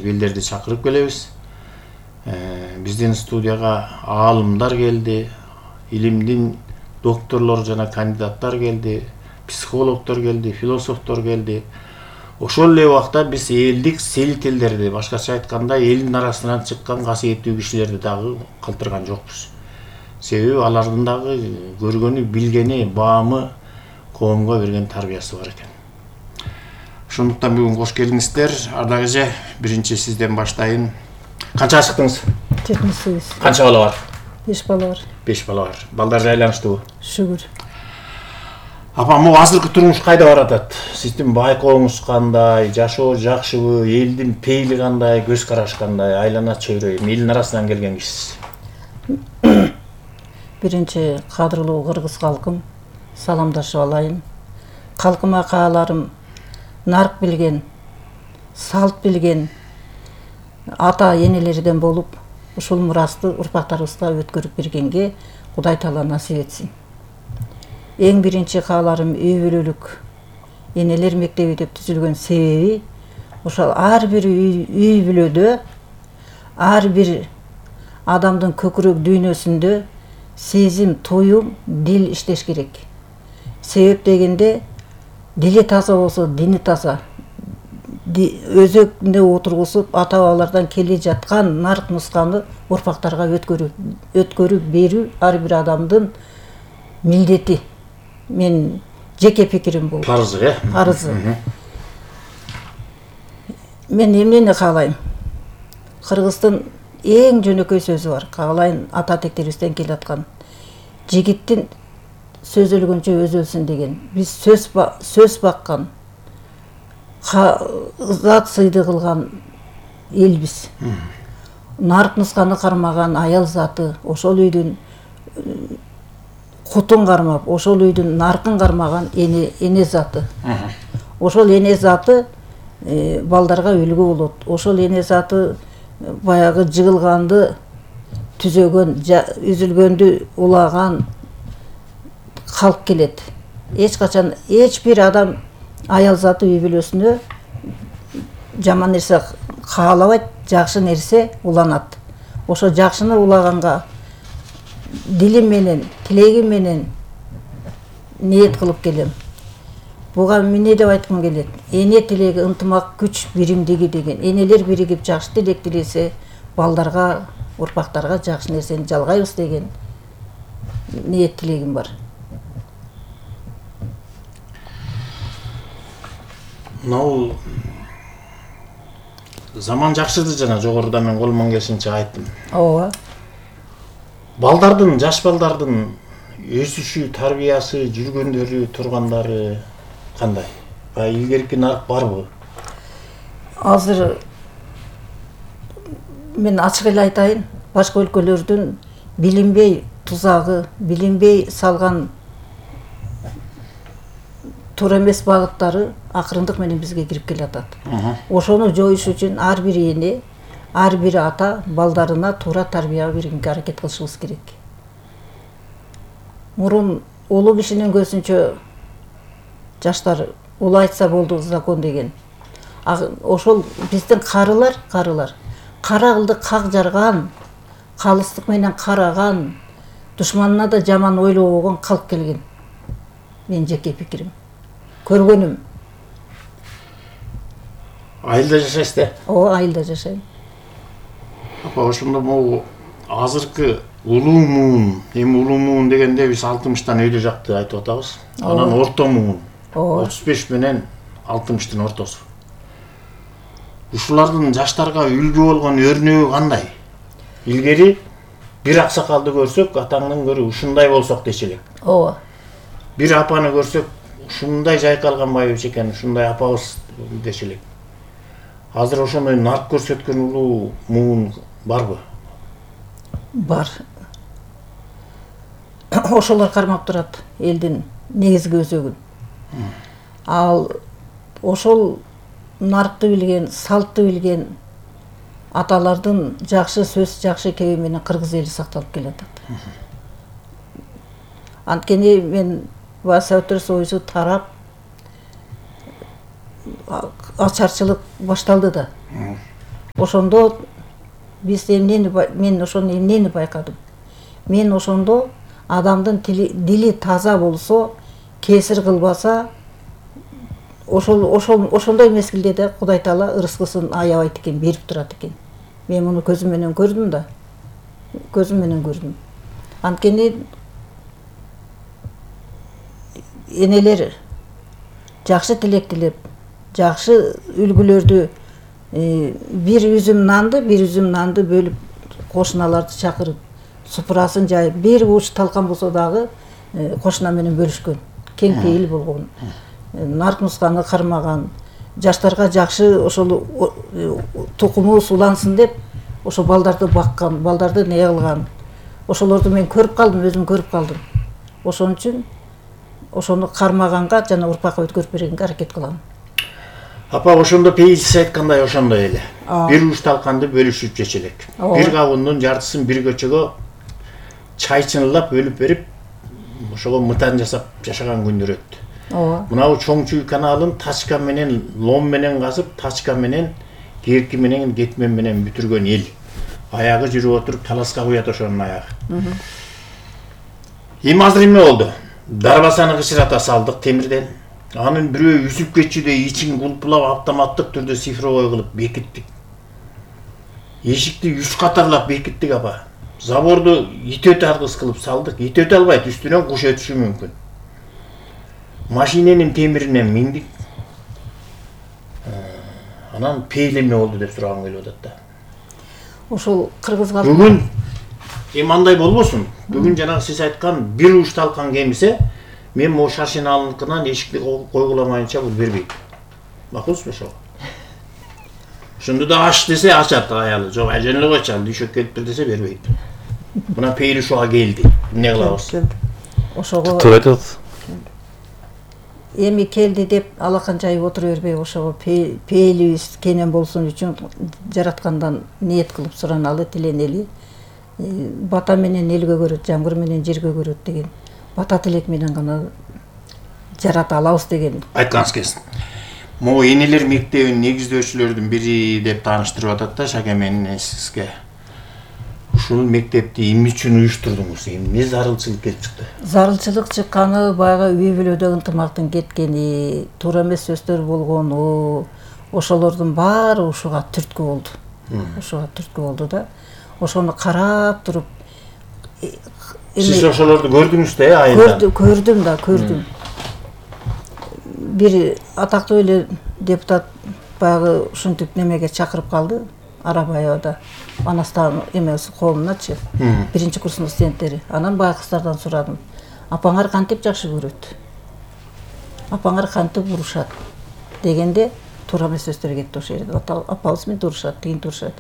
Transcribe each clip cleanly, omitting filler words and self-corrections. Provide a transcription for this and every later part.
элдерди чакырып келебиз. Биздин студияга аалымдар келди, илимдин докторлору жана кандидаттар келди, психологдор келди, философтор келди. Ошол эле убакта биз элдик селителдерди, башкача айтканда элдин арасынан чыккан касиеттүү кишилерди дагы калтырган жокпуз. Себеби алардын дагы көргөнү, билгени, баамы, коомго берген тарбиясы бар экен. Ошондуктан бүгүн кош келиңиздер. Ардак эже, биринчи сизден баштайын. Канча чыктыңыз? 78. Канча бала бар? 5 бала бар. 5 бала бар. Балдар жайланыштыбы? Шүгүр. Апа, могу азыркы турмуш кайда баратат? Сиздин байкооңуз кандай? Жашоо жакшыбы? Элдин пейили кандай? Көз карашы кандай? Айлана чөйрө, элдин арасынан келген кишисиз. Биринчи кадырлуу кыргыз калкым, саламдашып алайын. Калкыма кааларым нарк билген, салт билген ата энелерден болуп, ушул мурасты урпактарыбызга өткөрүп бергенге Кудай Таала насип этсин. Эң биринчи кааларым үй бүлөлүк энелер мектеби деп түзүлгөн себеби ошол ар бир үй бүлөдө, ар бир адамдын көкүрөк дүйнөсүндө сезим, туюм, дил иштеш керек. Себеп дегенде дили таза болсо, дини таза. Өзөгүндө отургузуп, ата-бабалардан келе жаткан нарк нусканы урпактарга өткөрүп берүү ар бир адамдын милдети. Мен жеке пикирим бул. Парызы, Парызы. Мен эмнени каалайм? Кыргыздын эң жөнөкөй сөзү бар. Каалайын ата тектерибизден келаткан. Жигиттин сөз өлгөнчө өзү өлсүн деген. Биз сөз баккан, зат сыйды кылган элбиз. Нарк нусканы кармаган аял заты, ошол үйдүн кутун кармап, ошол үйдүн наркын кармаган эне заты. Ошол эне заты балдарга үлгү болот. Ошол эне заты баягы жыгылганды түзөгөн, үзүлгөндү улаган калп келет. Эч качан эч бир адам аял заты үй бүлөсүнө жаман нерсе каалабайт, жакшы нерсе уланат. Ошо жакшыны улаганга дилим менен, тилегим менен ниет кылып келем. Буга эмне деп айткым келет? Эне тилеги, ынтымак, күч, биримдиги деген. Энелер биригип жакшы тилек тилесе, балдарга, урпактарга жакшы нерсени жалгайбыз деген ниет тилегим бар. Мынау заман жакшырды, жана жогоруда мен колуман келишинче айттым. Ооба. Балдардын, жаш балдардын өсүшү, тарбиясы, жүргөндөрү, тургандары кандай? Илгерки нарк барбы? Азыр мен ачык эле айтайын, башка өлкөлөрдүн билинбей тузагы, билинбей салган туура эмес багыттары акырындык менен бизге кирип келатат. Ошону жоюш үчүн ар бир эне, ар бир ата балдарына туура тарбия бергенге аракет кылышыбыз керек. Мурун улуу кишинин көзүнчө жаштар улуу айтса болду закон деген. Ошол биздин карылар кара кылды как жарган, калыстык менен караган, душманына да жаман ойлобогон калп келген. Мен жеке пикирим. Көргөнүм. Айылда жашайсыз да? Ооба, айылда жашайм. Апа, ошондо могу азыркы улуу муун, эми улуу муун дегенде биз 60-тан өйдө жакты айтып атабыз. Анан орто муун. 35 менен 60-тын ортосу. Ушулардын жаштарга үлгү болгон өрнөгү кандай? Илгери бир аксакалды көрсөк, атаңдан көрө ушундай болсок дечи элек. Ооба. Бир апаны көрсөк, ушундай жайкалган байыбыз экен, ушундай апабыз дечи элек. Азыр ошондой нарк көрсөткөн улуу муун барбы? Бар. Ошолор кармап турат элдин негизги өзөгүн. Ал ошол наркты билген, салтты билген аталардын жакшы сөз, жакшы кеби менен кыргыз эли сакталып келатат. Анткени мен Советтер Союзу тарап, ачарчылык башталды да. Ошондо биз мен ошону эмнени байкадым. Мен ошондо адамдын дили таза болсо, кесир кылбаса, ошондой мезгилде да Кудай Таала ырыскысын аябайт экен, берип турат экен. Мен муну көзүм менен көрдүм да. Көзүм менен көрдүм. Анткени энелер жакшы тилек тилеп, жакшы үлгүлөрдү, бир үзүм нанды бөлүп, кошуналарды чакырып, супурасын жайып, бир уч талкан болсо дагы кошуна менен бөлүшкөн. Кең пейил болгон. Нарк нусканы кармаган, жаштарга жакшы ошол тукуму сулансын деп, ошо балдарды баккан, балдарды не кылган. Ошолорду мен көрүп калдым, өзүм көрүп калдым. Ошон үчүн ошону кармаганга жана урпакка өткөрүп бергенге аракет кылам. Апа, ошондо пейилсиз айткандай ошондой эле. Бир уч талканды бөлүшүп жечү элек. Бир кабындын жартысын бир көчөгө чайчынылап бөлүп берип, ошого мытан жасап жашаган күндөр өттү. Ооба. Мынау Чоңчуй каналын тачка менен, лом менен казып, тачка менен, керки менен, кетмен менен бүтүргөн эл. Аягы жүрүп отуруп таласка куят ошонун аягы. Эми азыр эме болду? Дарбасаны кычырата салдык темирден. Анын бирөө үзүп кетчүдөй ичин кулпулап автоматтык түрдө цифровой кылып бекиттик. Эшикти 3 катарлап бекиттик апа. Заборду ит өтө аргыс кылып салдык. Ит өтө албайт, үстүнөн куш өтүшү мүмкүн. Машиненин темиринен миндик. Анан пейлеме болду деп сурагым келип атат да. Ошол кыргызга Бүгүн эми андай болбосун. Бүгүн жанагы сиз айткан бир уч талкан кемисе, мен могу Шаршеналыкынан эшикти койгуламайынча бул бербейт. Макулсузбу ошо? Ошондо да аш десе ачат аялы. Жок, ажен эле койчу, дүйшөк келиптир десе бербейт. Мына пейли ушуга келди. Эмне кылабыз? ошого Туура айтат. эми келди деп алакан жайып отура бербей, ошого пейлибиз кенен болсун үчүн жараткандан ниет кылып сураналы, тиленели. Бата менен элге көрөт, жамгыр менен жерге көрөт деген бата тилек менен гана жарата алабыз деген. Айтканыңыз келсин. Могу энелер мектебинин негиздөөчүлөрдүн бири деп тааныштырып атат да Шакемен сизге. Ушул мектепти эмне үчүн уюштурдуңуз? Эмне зарылчылык келип чыкты? Зарылчылык чыкканы баягы үй бүлөдө ынтымактын кеткени, туура эмес сөздөр болгону, ошолордун баары ушуга түрткү болду. Ушуга түрткү болду да. Ошону карап туруп Сиз ошолорду көрдүңүз да, айында? Көрдүм да, көрдүм. Бир атактуу эле депутат баягы ушинтип немеге чакырып калды, Арабаевада. Анастан эмеси колуначы, биринчи курстун студенттери. Анан баягы кыздардан сурадым. Апаңар кантип жакшы көрөт? Апаңар кантип урушат? Дегенде туура эмес сөздөр кетти ошол жерде. Апабыз менен турушат, тигин турушат.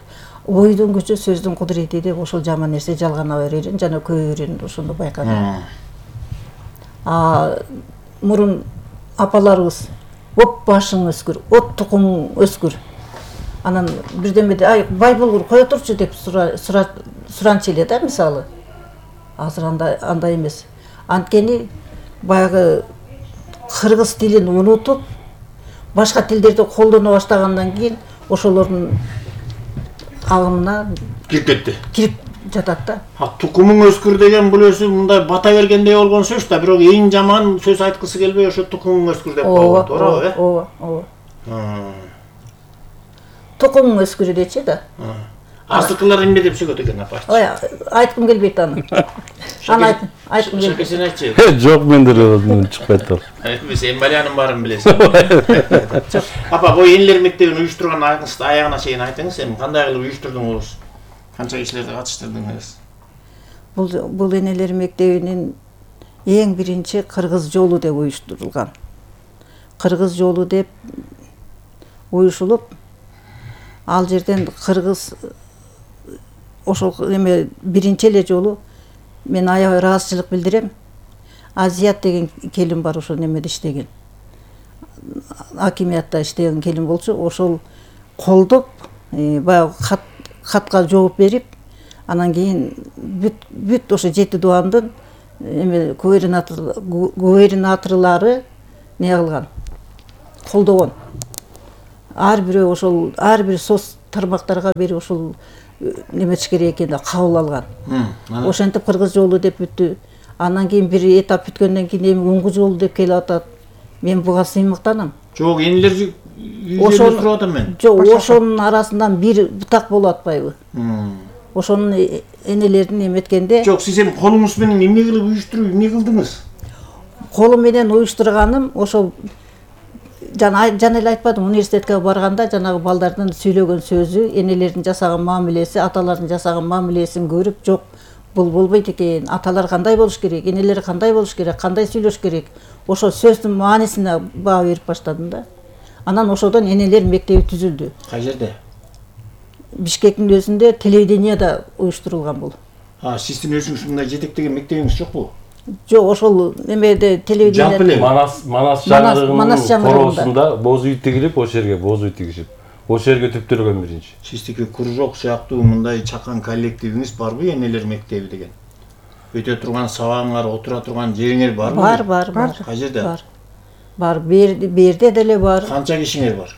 Ойдун күчү, сөздүн кудурети деп ошол жаман нерсе жалгана берерин жана көбөрүн ошондо байкадым. Мурун апаларыбыз оп башың өскүр, от тукумуң өскүр. Анан бирдемеде ай бай болгур кое турчу деп суранчу эле да, мисалы. Азыр андай эмес. Анткени баягы кыргыз тилин унутуп, башка тилдерди колдоно баштагандан кийин ошолордун агымына кирип жатат да. Тукумуң өскүр деген бул өзү мындай бата бергендей болгон сөз да, бирок эң жаман сөз айткысы келбей ошо тукумуң өскүр деп коет, туурабы? Ооба. Тукумуң өскүр дечи да. Азыркылар эмне деп сөйлөт экен апа? Ой, айткым келбейт аны. Аны айткым келбейт. Сен айтчы. Жок, мендер чыкпайт ал. Сен Балянын баарын билесиң. Апа, бул энелер мектебин уюштурган аягына чейин айтыңыз, эми кандай кылып уюштурдуңуз? Канча кишилерди катыштырдыңыз? Бул энелер мектебинин эң биринчи кыргыз жолу деп уюштурулган. Кыргыз жолу деп уюшулуп, ал жерден кыргыз ошол эме биринчи эле жолу мен аябай ыраазычылык билдирем. Азият деген келин бар, ошол немеде иштеген. Акимиятта иштеген келин болчу, ошол колдоп, баягы хатка жооп берип, анан кийин бүт ошо 7 дубандын эме губернаторлары не кылган, колдогон. Ар бирөө ошол ар бир соц тармактарга бери ушул неметиш керек экени кабыл алган. Ошентип кыргыз жолу деп бүттү. Андан кийин бир этап бүткөндөн кийин эми уңгу жолу деп келип атат. Мен буга сыймыктанам. Жок, энелер үйдө туруп атам мен. Жок, ошонун арасынан бир бутак болуп атпайбы? Ошонун энелерин эметкенде. Жок, сиз эми колуңуз менен эмне кылып уюштуруп, эмне кылдыңыз? Колум менен уюштурганым ошол жана эле айтпадым, университетке барганда жанагы балдардын сүйлөгөн сөзү, энелердин жасаган мамилеси, аталардын жасаган мамилесин көрүп, жок, бул болбойт экен. Аталар кандай болуш керек, энелер кандай болуш керек, кандай сүйлөш керек. Ошо сөздүн маанисине баа берип баштадым да. Анан ошодон энелер мектеби түзүлдү. Кай жерде? Бишкектин өзүндө телевидениеда уюштурулган бул. Сиздин өзүңүз мындай жетектеген мектебиңиз жокпу? Жок, ошол немеде телевидение Манас жаңырыгынын короосунда боз үй тигилип, ошол жерге боз үй тигишип, ошол жерге түптөлгөн биринчи. Сиздики кружок сыяктуу мындай чакан коллективиңиз барбы, энелер мектеби деген? Өтө турган сабагыңар, отура турган жериңер барбы? Бар. Кай жерде? Бар, берде деле бар. Канча кишиңер бар?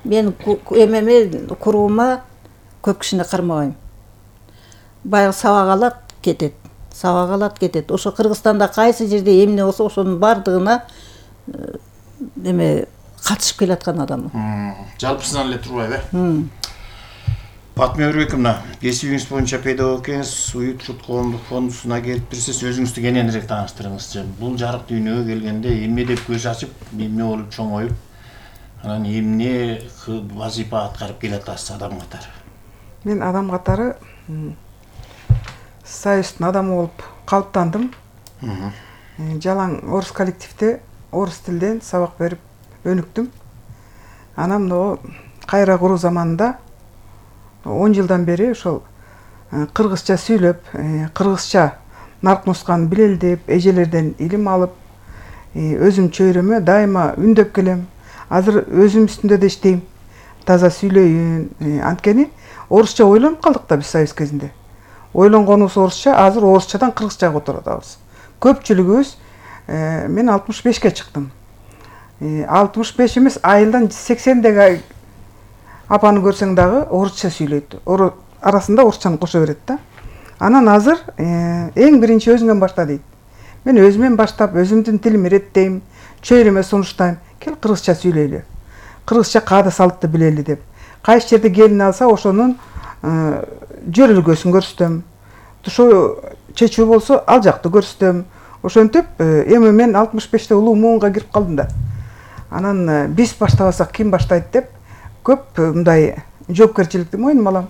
Мен эмеме куруума көп кишини кармабайм. Баягы сабак алат, кетет. Ошо Кыргызстанда кайсы жерде эмне болсо ошонун бардыгына эме катышып келаткан адаммын. Жалпысынан эле турбайбы? Батма Өрбековна, кесибиңиз боюнча педагог экенсиз, Уют Журт коомдук фондусуна келип бирсиз, өзүңүздү кененирээк тааныштырыңызчы. Бул жарык дүйнөгө келгенде эмне деп көз ачып, эмне болуп чоңоюп, анан эмне вазифа аткарып келатасыз адам катары? Мен адам катары Союздун адамы болуп калыптандым. Жалаң орус коллективде орус тилден сабак берип өнүктүм. Анан мына кайра куруу заманында 10 жылдан бери ошол кыргызча сүйлөп, кыргызча нарк нусканы билелдеп, эжелерден илим алып, өзүм чөйрөмө дайыма үндөп келем. Азыр өзүм үстүндө да иштейм. Таза сүйлөйүн. Анткени орусча ойлонуп калдык да биз союз кезинде. Ойлонгонубуз орусча, азыр орусчадан кыргызчага отуруп атабыз. Көпчүлүгүбүз мен 65ке чыктым. 65 эмес, айылдан 80деги апаны көрсөң дагы орусча сүйлөйт. Арасында орусчаны кошо берет да. Анан азыр эң биринчи өзүңөн башта дейт. Мен өзүмөн баштап, өзүмдүн тилимди иреттейм, чөйрөмө сунуштайм. Кел кыргызча сүйлөйлү. Кыргызча каада салтты билели деп. Кайсы жерде келин алса, ошонун жөрөлгөсүн көрсөтөм. Ошо чечүү болсо, ал жакты көрсөтөм. Ошентип, эми мен 65те улуу муунга кирип калдым да. Анан биз баштабасак ким баштайт деп көп мындай жоопкерчиликти мойнума алам.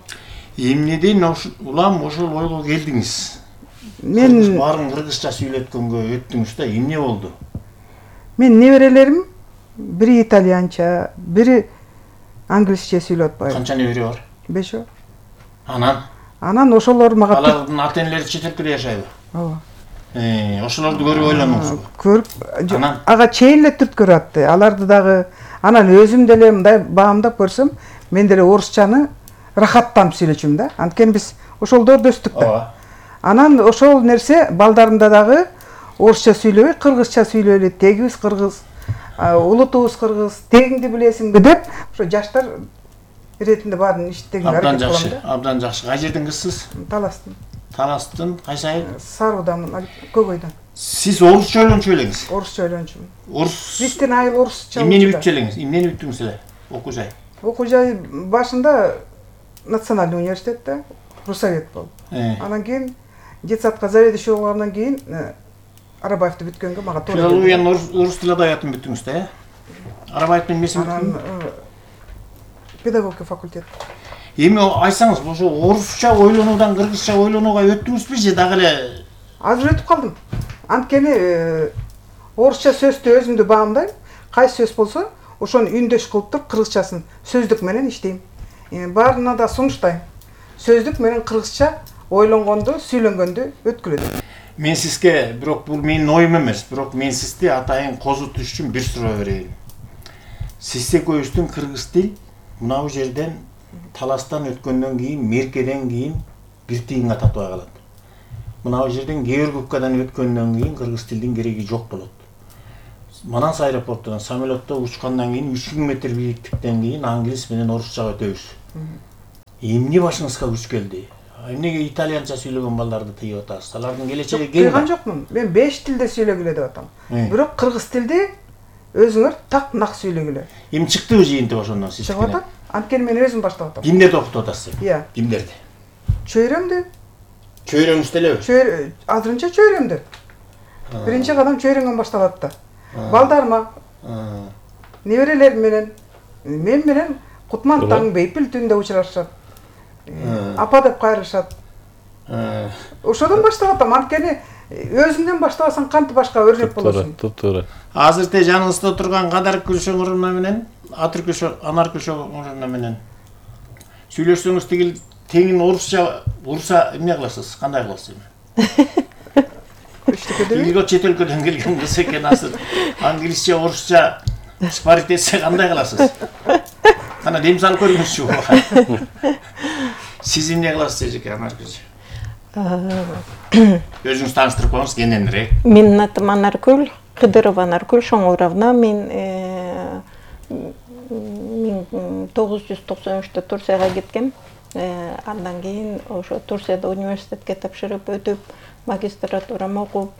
Эмнеден улам ошол ойго келдиңиз? Мен баарын кыргызча сүйлөткөнгө өттүңүз да, эмне болду? Мен неберелерим бири итальянча, бири англисче сүйлөп атпайбы. Канча небере бар? 5. Анан ошолор мага алардын ата энелери чет элде жашайбы? Ооба. Ошолорду көрүп ойлондуңузбу? Көрүп, ага чейин эле түрткөрүп атты. Аларды дагы анан өзүм деле мындай баамдап көрсөм, мен деле орусчаны рахаттанып сүйлөчүм да. Анткени биз ошолдорду өстүк да. Анан ошол нерсе балдарымда дагы орусча сүйлөбөй, кыргызча сүйлөйлү, тегибиз кыргыз, улутубуз кыргыз, тегиңди билесиңби деп, ошо жаштар иретинде баарын иштеген аракет кылам да. Абдан жакшы. Кай жерден кызсыз? Таластын, кайсы айыл? Саруудамын, Көкөйдөн. Сиз орусча ойлончу элеңиз? Орусча ойлончумун. Биздин айыл орусча. Эмнени бүтчү элеңиз? Эмнени бүттүңүз эле? Окуу жай. Окуу жай башында Национальный университетте Русовет болуп. Анан кийин детсадка заведующий болгондон кийин Арабаевди бүткөнгө мага туура келди. Филологиянын орус тил адабиятын бүттүңүз да, Арабаевдин эмесин бүттүңүз? Анан педагогика факультет. Эми айтсаңыз, ошо орусча ойлонуудан кыргызча ойлонууга өттүңүзбү же дагы эле? Азыр өтүп калдым. Анткени орусча сөздү өзүмдү баамдайм. Кайсы сөз болсо, ошону үндөш кылып туруп кыргызчасын сөздүк менен иштейм. Баарына да сунуштайм. Сөздүк менен кыргызча ойлонгонду, сүйлөнгөндү өткүлөт. Мен сизге, бирок бул менин оюм эмес, бирок мен сизди атайын козутуш үчүн бир суроо берейин. Сиз экөөбүздүн кыргыз тил мынау жерден таластан өткөндөн кийин, меркеден кийин бир тыйынга татыбай калат. Мынау жерден Георгиевкадан өткөндөн кийин кыргыз тилдин кереги жок болот. Манас аэропортунан самолетто учкандан кийин 3000 метр бийликтиктен кийин англис менен орусчага өтөбүз. Эмне башыңызга күч келди? Эмнеге итальянча сүйлөгөн балдарды тыйып атасыз? Алардын келечеги кең. Тыйган жокмун. Мен 5 тилде сүйлөгүлө деп атам. Бирок кыргыз тилде өзүңөр так нак сүйлөгүлө. Эми чыктыбы жыйынтык ошондон сиз? Чыгып атат. Анткени мен өзүм баштап атам. Кимдерди окутуп атасыз? Иә. Кимдерди? Чөйрөмдү. Чөйрөңүз делеби? Азырынча чөйрөмдү. Биринчи кадам чөйрөңөн башталат да. Балдарыма, неберелерим менен, мен менен Кутмантаң Бейпил түндө учурашат. Апа деп кайрышат. Ошодон баштап атам. Анткени өзүңдөн баштабасаң кантип башка өрнөк болосуң. Туура. Азыр те жаныңызда турган Кадар Күлшөңөрүнө менен, Атыр Анар Күлшөңөрүнө менен сүйлөшсөңүз тигил теңин орусча урса эмне кыласыз? Кандай кыласыз эми? Тигил чет өлкөдөн келген кыз экен азыр. Англисче, орусча спарить этсе кандай кыласыз? Кана дем салып көрүңүзчү. Сиз эмне кыласыз эжеке Анар Күлшө? Өзүңүз тааныштырып коюңуз кененирээк. Менин атым Анаркүл, Кыдырова Анаркүл Шоңуровна. Мен 1993-тө Турцияга кеткем. Андан кийин ошо Турцияда университетке тапшырып өтүп, магистратурама окуп,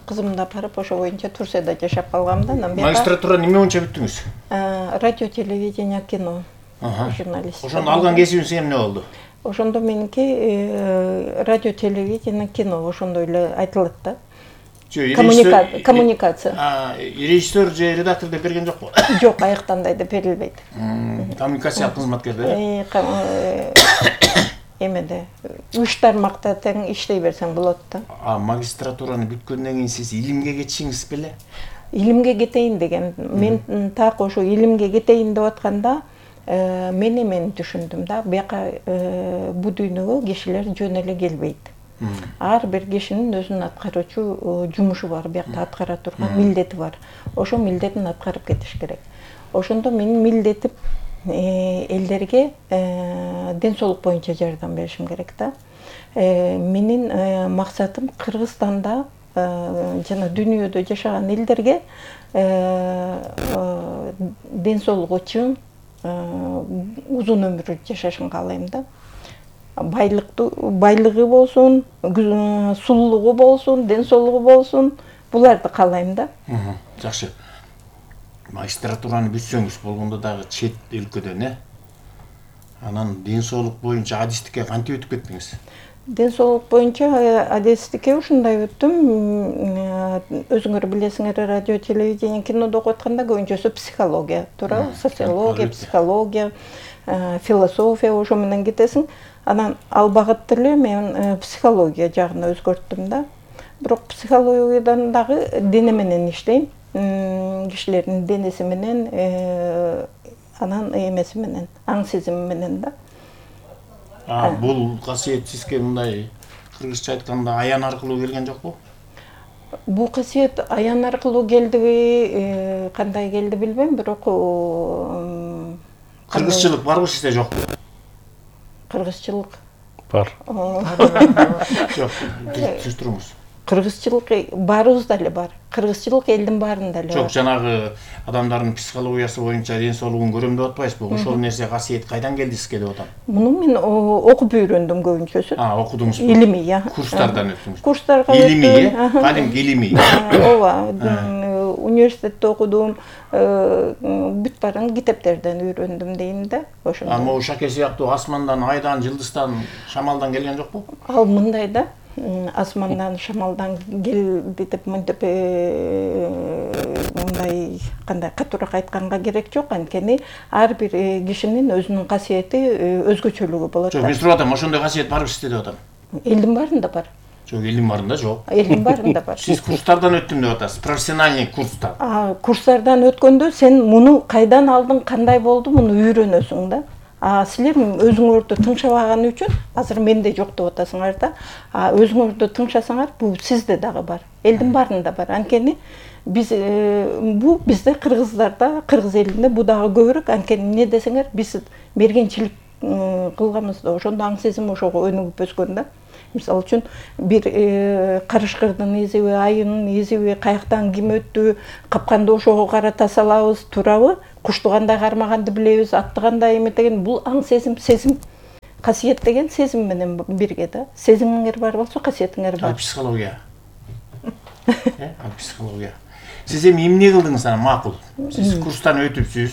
кызымда барып ошо боюнча Турцияда жашап калгам да. Магистратура неме боюнча бүттүңүз? Радио, телевидение, кино. Журналистика. Ошону алган кесибиңиз эмне болду? Ошондо меники радио, телевидение, кино ошондой эле айтылат да. Коммуникация. Режиссер же редактор деп берген жокпу? Жок, аяктандай деп берилбейт. Коммуникация кызматкерде. Эмеде 3 тармакта тең иштей берсең болот да. Магистратураны бүткөндөн кийин сиз илимге кетишиңиз беле? Илимге кетейин деген. Мен так ошо илимге кетейин деп атканда мен эмени түшүндүм да. Бияка бу дүйнөгө кишилер жөн эле келбейт. Ар бир кишинин өзүнүн аткаруучу жумушу бар, биякта аткара турган милдети бар. Ошо милдетин аткарып кетиш керек. Ошондо менин милдетим элдерге ден соолук боюнча жардам беришим керек да. Менин максатым Кыргызстанда жана дүйнөдө жашаган элдерге ден соолугу чың, узун өмүр жашашын каалайм да. Байлыгы болсун, сулуулугу болсун, ден соолугу болсун, буларды каалайм да. Жакшы. Магистратураны бүтсөңүз болгондо дагы чет өлкөдөн, анан ден соолук боюнча адистикке кантип өтүп кеттиңиз? Ден соолук боюнча адистикке ушундай өттүм. Өзүңөр билесиңер, радио, телевидение, кинодо окуп атканда көбүнчөсү психология, туура? Социология, психология, философия ошо менен кетесиң. Анан ал багытты эле мен психология жагына өзгөрттүм да. Бирок психологиядан дагы дене менен иштейм. Кишилердин денеси менен, анан эмеси менен, аң сезими менен да. Бул касиет сизге мындай кыргызча айтканда аян аркылуу келген жокпу? Бул касиет аян аркылуу келдиби, кандай келди билбейм, бирок кыргызчылык барбы сизде жокпу? Кыргызчылык бар. Жок, түшүндүрүңүз. Кыргызчылык баарыбызда эле бар. Кыргызчылык элдин баарында эле бар. Жок, жанагы адамдардын психологиясы боюнча ден соолугун көрөм деп атпайсызбы? Ошол нерсе касиет кайдан келди сизге деп атам. Муну мен окуп үйрөндүм көбүнчөсүн. Окудуңузбу? Илимий, Курстардан өттүңүз. Курстарга илимий, кадимки илимий. Ооба, университетте окудум, бүт баарын китептерден үйрөндүм дейм да. Ошондой. Могу Шаке сыяктуу асмандан, айдан, жылдыздан, шамалдан келген жокпу? Ал мындай да. Асмандан, шамалдан келди деп мынтип мындай кандай катуураак айтканга керек жок. Анткени ар бир кишинин өзүнүн касиети, өзгөчөлүгү болот. Жок, мен сурап атам, ошондой касиет барбы сизде деп атам. Элдин баарында бар. Жок, элдин баарында жок. Элдин баарында бар. Сиз курстардан өттүм деп атасыз, профессиональный курстан. Курстардан өткөндө сен муну кайдан алдың, кандай болду, муну үйрөнөсүң да. Силер өзүңөрдү тыңшабаган үчүн, азыр менде жок деп атасыңар да. Өзүңөрдү тыңшасаңар, бул сизде дагы бар. Элдин баарында бар. Анткени биз бизде кыргыздарда, кыргыз элинде бу дагы көбүрөөк. Анткени эмне десеңер, биз мергенчилик кылганбыз да, ошондо аң сезим ошого өнүгүп өскөн да. Мисалы үчүн бир карышкырдын изиби, айынын изиби, каяктан ким өттү, капканды ошого карата салабыз, турабы, кушту кандай кармаганды билебиз, атты кандай эметеген, бул аң сезим, сезим. Касиет деген сезим менен бирге да. Сезимиңер бар болсо касиетиңер бар. Ал психология. Ал психология. Сиз эми эмне кылдыңыз ана макул? Сиз курстан өтүпсүз,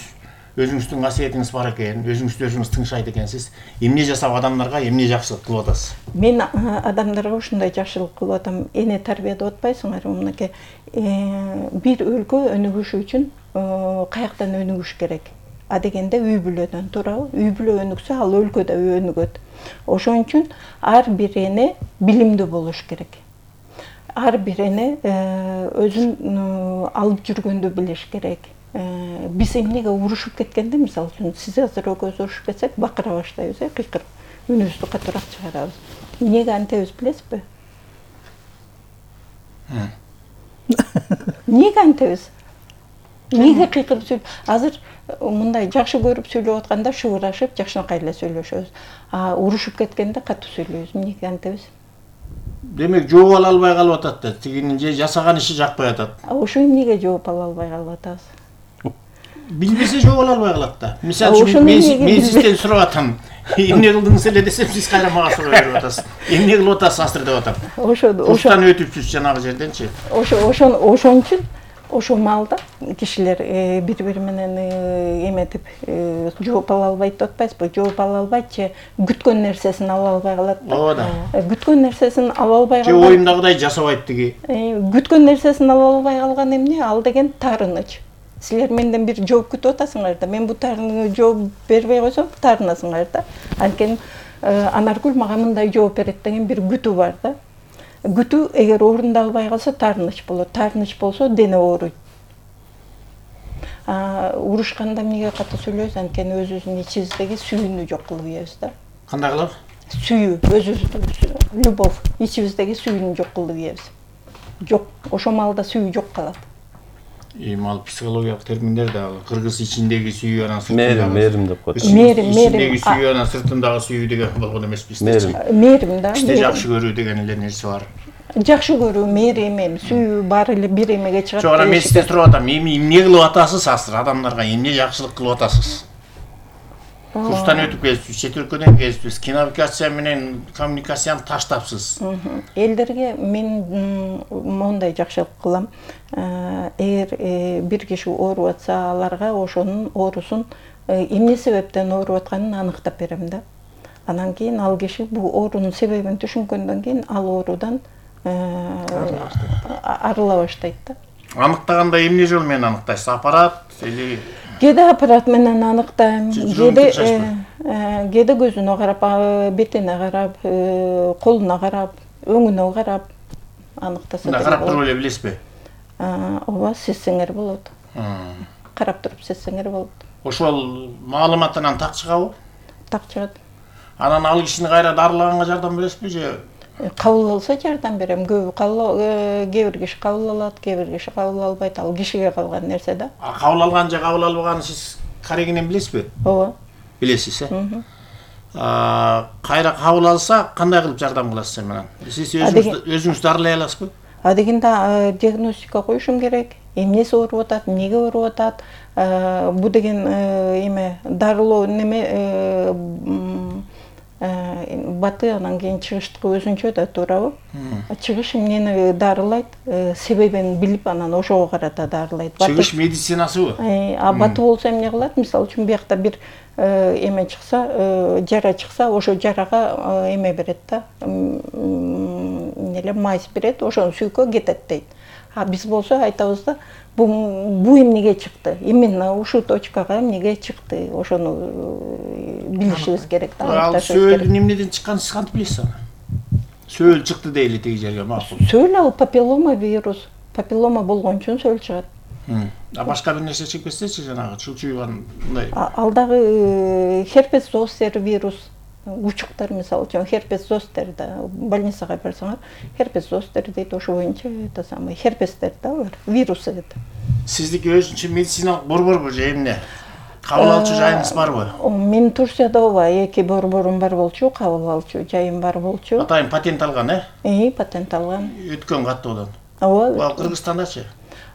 өзүңүздүн касиетиңиз бар экен, өзүңүз тыңшайт экенсиз. Эмне жасап адамдарга эмне жакшылык кылып атасыз? Мен адамдарга ушундай жакшылык кылып атам. Эне тарбияда отпайсыңар, мынакей бир өлкө өнүгүшү үчүн каяктан өнүгүш керек. А дегенде үй бүлөдөн турабы? Үй бүлө өнүксө, ал өлкө да өнүгөт. Ошон үчүн ар бир эне билимдүү болуш керек. Ар бир эне өзүн алып жүргөндү билиш керек. Биз эмнеге урушуп кеткенде, мисалы үчүн, сиз азыр экөөбүз урушуп кетсек, бакыра баштайбыз, кыйкырып, үнүбүздү катуураак чыгарабыз. Эмнеге антебиз билесизби? Эмнеге антебиз? Эмнеге кыйкырып сүйлөп? Азыр мындай жакшы көрүп сүйлөп атканда шыбырашып, жакшынакай эле сүйлөшөбүз. А урушуп кеткенде катуу сүйлөйбүз. Эмнеге антебиз? Демек, жооп ала албай калып атат да. Тигинин же жасаган иши жакпай атат. Ошо эмнеге жооп ала албай калып атабыз? Билбесе жооп ала албай калат да. Мисалы үчүн мен сизден сурап атам. Эмне кылдыңыз эле десем, сиз кайра мага суроо берип атасыз. Эмне кылып атасыз азыр деп атам. Курстан өтүпсүз жанагы жерденчи. Ошон үчүн ошол маалда кишилер бири-бири менен эметип жооп ала албайт деп атпайсызбы? Жооп ала албайт же күткөн нерсесин ала албай калат да. Ооба да. Күткөн нерсесин ала албай же оюмдагыдай жасабайт тиги. Күткөн нерсесин ала албай калган эмне? Ал деген таарыныч. Силер менден бир жооп күтүп атасыңар да. Мен бу таарыныга жооп бербей койсом, таарынасыңар да. Анткени Анаргүл мага мындай жооп берет деген бир күтүү бар да. Күтүү эгер орундалбай калса таарыныч болот. Таарыныч болсо дене ооруйт. Урушканда эмнеге катуу сүйлөйбүз? Анткени өзүбүздүн ичибиздеги сүйүүнү жок кылып ийебиз да. Кандай кылып? Сүйүү, өзүбүздүн любовь, ичибиздеги сүйүүнү жок кылып ийебиз. Жок, ошол маалда сүйүү жок калат. Ал психологиялык терминдер да кыргыз ичиндеги сүйүү анан мээрим деп коет. Ичиндеги сүйүү анан сыртындагы сүйүү деген болгон эмес бизде. Мээрим да. Бизде жакшы көрүү деген эле нерсе бар. Жакшы көрүү, мээрим, сүйүү баары эле бир эмеге чыгат. Жок, мен сизден сурап атам, эмне кылып атасыз азыр адамдарга, эмне жакшылык кылып атасыз? Курстан өтүп келипсиз, чет өлкөдөн келипсиз, коммуникация менен коммуникацияны таштапсыз. Элдерге мен мондай жакшылык кылам. Эгер бир киши ооруп атса, аларга ошонун оорусун эмне себептен ооруп атканын аныктап берем да. Анан кийин ал киши бул оорунун себебин түшүнгөндөн кийин ал оорудан арыла баштайт да. Аныктаганда эмне жол менен аныктайсыз? Аппарат или Кээде аппарат менен аныктайм, кээде көзүнө карап, бетине карап, колуна карап, өңүнө карап аныктаса да. Карап туруп эле билесизби? Ооба, сезсеңер болот. Карап туруп сезсеңер болот. Ошол маалыматтан так чыгабы? Так чыгат. Анан ал кишини кайра дарылаганга жардам бересизби же? Кабыл алса жардам берем. Кээ бир киши кабыл алат, кээ бир киши кабыл албайт. Ал кишиге калган нерсе да. Кабыл алган же кабыл албаганын сиз карегинен билесизби? Ооба. Билесиз, кайра кабыл алса, кандай кылып жардам кыласыз сен менен? Сиз өзүңүз дарылай аласызбы? Адегенде диагностика коюшум керек. Эмнеси ооруп атат, эмнеге ооруп атат? Бу деген эме дарылоо неме баты анан кийин чыгыштыкы өзүнчө да, туурабы? Чыгыш эмнени дарылайт, себебин билип анан ошого карата дарылайт. Чыгыш медицинасыбы? Баты болсо эмне кылат? Мисалы үчүн биякта бир эме чыкса, жара чыкса, ошо жарага эме берет да, эмнеле мазь берет, ошону сүйкө кетет дейт. А биз болсо айтабыз да, бу эмнеге чыкты? Именно ушул точкага эмнеге чыкты? Ошону билишибиз керек да. Ал сөөлдүн эмнеден чыкканын сиз кантип билесиз аны? Сөөл чыкты дейли тиги жерге, макул. Сөөл ал папиллома вирус. Папиллома болгон үчүн сөөл чыгат. Башка бир нерсе чекпесечи, жанагы чылчуйган мындай. Ал дагы херпес зостер вирус. Учуктар, мисалы үчүн херпес зостер да, больницага барсаңар, херпес зостер дейт, ошо боюнча это самый херпестер да, алар вирусы дейт. Сиздики өзүнчө медициналык борборбу же эмне? кабыл алчу жайыңыз барбы? Мен Турцияда ооба 2 борборум бар болчу, кабыл алчу жайым бар болчу. Атайын патент алган, Патент алган. Өткөн каттоодон. Ооба. Ал Кыргызстандачы?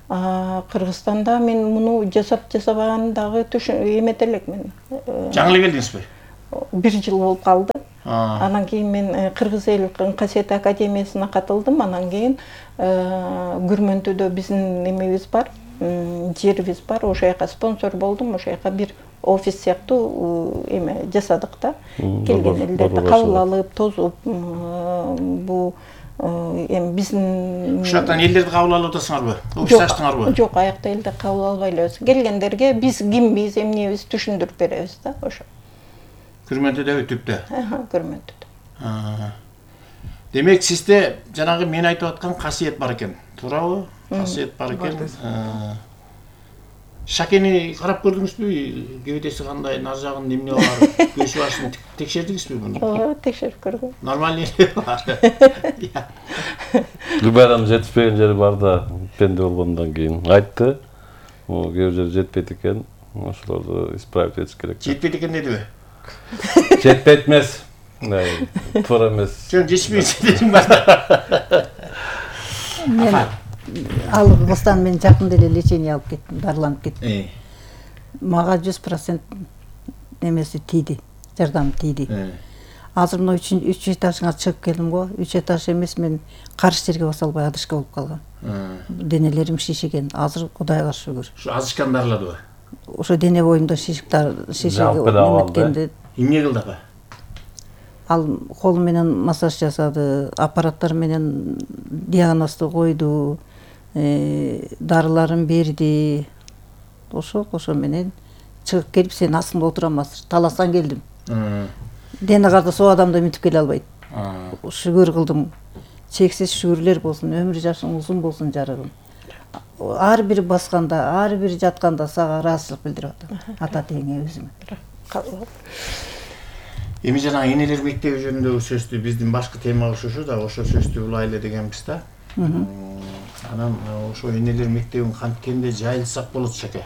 Кыргызстанда мен муну жасабаган дагы эмете элек мен. Жаңы эле келдиңизби? 1 жыл болуп калды. Анан кийин мен Кыргыз эл касиет академиясына катылдым. Анан кийин Күрмөнтүдө биздин эмебиз бар, жерибиз бар. Ошол жака спонсор болдум. Ошол жака бир офис сыяктуу эме жасадык да. Келген элдерди кабыл алып, тозуп бу эми биздин ушул жактан элдерди кабыл алып атасыңарбы? Офис ачтыңарбы? Жок, аякта элди кабыл албай элебиз. Келгендерге биз кимбиз, эмнебиз түшүндүрүп беребиз да, ошо. Күрмөнтүдө түптө. Күрмөнтүдө. Демек сизде жанагы мен айтып аткан касиет бар экен, туурабы? Касиет бар экен. Шакени карап көрдүңүзбү? Кебетеси кандай, нар жагын эмне бар? Көз башын текшердиңизби муну? Ооба, текшерип көрдүм. Нормально эле бар. Гүлбайрам жетишпеген жери бар да, пенде болгондон кийин айтты. Кээ бир жери жетпейт экен. Ошолорду исправить этиш керек. Жетпейт экен дедиби? Жетпейт эмес. Туура эмес. Жөн жетишпейт дедим бар. Мен алгыстан мен жакында эле лечение алып кеттим, дарыланып кеттим. Мага 100% немеси тийди, жардам тийди. Азыр мына 3 этажга чыгып келдим го. 3 этаж эмес, мен каршы жерге баса албай адышка болуп калгам. Денелерим шишиген. Азыр Кудайга шүгүр. Ушу азышкан дарыладыбы? Ошо дене боюмда шишиктер эметкенде. Эмне кылды апа? Ал колу менен массаж жасады, аппараттар менен диагнозду койду, дарыларын берди. Ошо менен чыгып келип, сен астыңда отурам азыр, таластан келдим. Дене карды со адамды үмүтүп келе албайт. Шүгүр кылдым. Чексиз шүгүрлөр болсун, өмүр жашың узун болсун жарыгым. Ар бир басканда, ар бир жатканда сага ыраазычылык билдирип атам. Ата теңе өзүмө. Эми жана энелер мектеби жөнүндөгү сөздү биздин башкы темабыз ушу да, ошо сөздү улайлы дегенбиз да. Анан ошо энелер мектебин канткенде жайылсак болот шеке.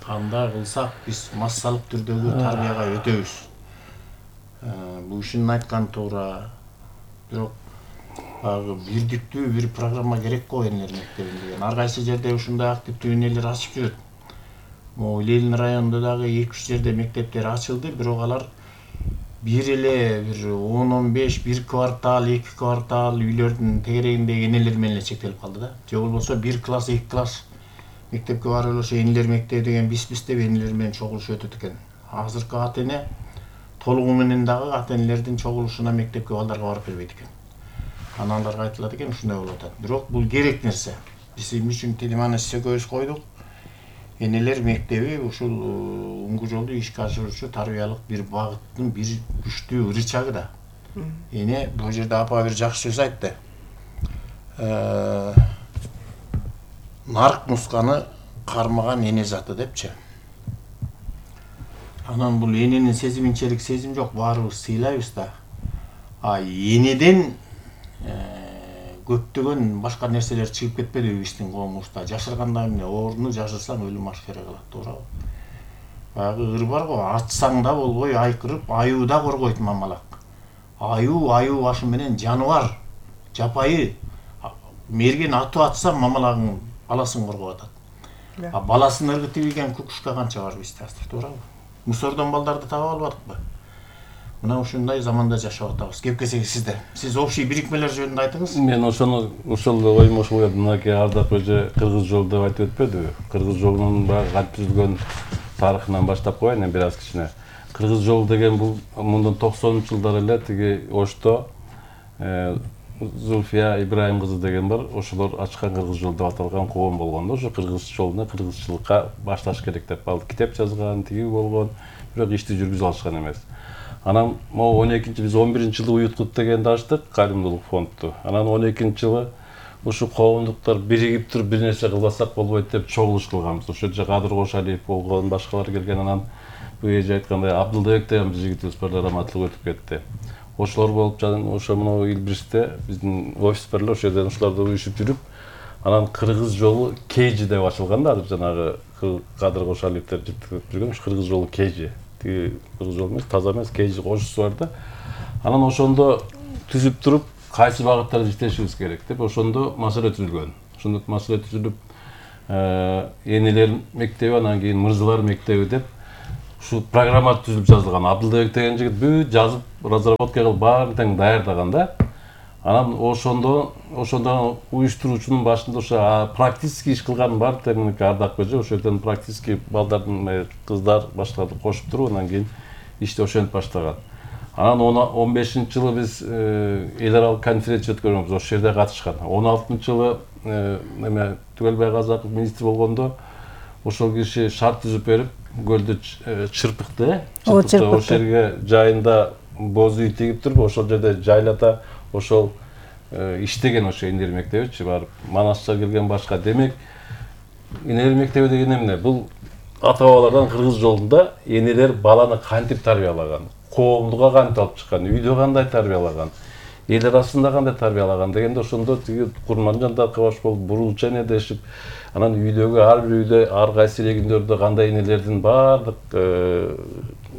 Кандай кылсак биз массалык түрдөгү тарбияга өтөбүз. Бул ишин айткан туура. Бирок бирдиктүү бир программа керек го энелер мектебин деген. Ар кайсы жерде ушундай активдүү энелер ачып жүрөт. Могу Ленин районунда дагы 2-3 жерде мектептер ачылды, бирок алар бир эле бир 10-15, бир квартал, 2 квартал үйлөрдүн тегерегиндеги энелер менен эле чектелип калды да. Же болбосо 1 класс, 2 класс мектепке барып эле ошо энелер мектеби деген биз деп энелер менен чогулушуп өтөт экен. Азыркы ата эне толугу менен дагы ата энелердин чогулушуна мектепке балдарга барып бербейт экен. Аналарга айтылат экен, ушундай болуп атат. Бирок бул керек нерсе. Биз эмне үчүн телеманы көз койдук? Энелер мектеби ушул уңгу жолду ишке ашыруучу тарбиялык бир багыттын бир күчтүү рычагы да. Эне бул жерде апа бир жакшы сөз айтты. Нарк мусканы кармаган эне заты депчи. Анан бул эненин сезиминчелик сезим жок, баарыбыз сыйлайбыз да. Энеден көптөгөн башка нерселер чыгып кетпедиби биздин коомубузда? Жашырганда эмне, ордуну жашырсаң өлүм ашкере кылат, туурабы? Баягы ыр бар го, атсаң да болбой айкырып, аюу да коргойт мамалак. Аюу башы менен жаныбар, жапайы. Мерген атып атса мамалагың баласын коргоп атат. Баласын ыргытып ийген кукушка канча бар бизде азыр, туурабы? Мусордон балдарды таап албадыкпы? Мына ушундай заманда жашап атабыз. Кепкесеги сизде. Сиз общий бирикмелер жөнүндө айтыңыз. Мен ошол оюм ошол еді. Мынакей Ардап эже Кыргыз жолу деп айтып өтпөдүбү? Кыргыз жолунун баягы кантип түзүлгөн тарыхынан баштап коеюн эми бир аз кичине. Кыргыз жолу деген бул мындан 90-жылдар эле тиги Ошто Зульфия Ибраим кызы деген бар. Ошолор ачкан Кыргыз жолу деп аталган коом болгон да. Ошо кыргыз жолуна кыргызчылыкка башташ керек деп ал китеп жазган, тиги болгон, бирок ишти жүргүзө алышкан эмес. Анан могу 12-биз 11-жылы уюткут дегенди ачтык, кайрымдуулук фондду. Анан 12-жылы ушу коомдуктар биригип туруп бир нерсе кылбасак болбойт деп чогулуш кылганбыз. Ошол жерде Кадыр Кошалиев болгон, башкалар келген. Анан бул эже айткандай Абдылбек деген биз жигитибиз бар, раматтылык өтүп кетти. Ошолор болуп жатып, ошо мына Илбиристе биздин офис бар эле, ошол жерден ошолорду уюшуп жүрүп, анан Кыргыз жолу Кейжи деп ачылган да, азыр жанагы Кадыр Кошалиевдер жеткирип жүргөн кыргыз жолу KG. Тиги кыргыз жолу эмес, таза эмес, KG кошусу бар да. Анан ошондо түзүп туруп кайсы багыттарда иштешибиз керек деп ошондо маселе түзүлгөн. Ошондо маселе түзүлүп энелер мектеби, анан кийин мырзалар мектеби деп ушу программа түзүлүп жазылган. Абдылбек деген жигит бүт жазып, разработка кылып баарын тең даярдаган да. Анан ошондо уюштуруучунун башында ошо практический иш кылган бар теминики Ардак Көжө, ошол жерден практический балдардын кыздар башкаларды кошуп туруп, анан кийин ишти ошентип баштаган. Анан 15-жылы биз эл аралык конференция өткөргөнбүз, ошол жерде катышкан. 16-жылы эме Түгөлбай Казаков министр болгондо ошол киши шарт түзүп берип, көлдү чырпыкты, ошол жерге жайында боз үй тигип туруп, ошол жерде жайлата ошол иштеген ошо энелер мектебичи барып, Манасча келген башка. Демек, энелер мектеби деген эмне? Бул ата-бабалардан кыргыз жолунда энелер баланы кантип тарбиялаган, коомдуга кантип алып чыккан, үйдө кандай тарбиялаган, эл арасында кандай тарбиялаган дегенде ошондо тиги Курманжан Таркыбаш болуп бурулча энедешип, анан үйдөгү ар бир үйдө ар кайсы региондордо кандай энелердин баардык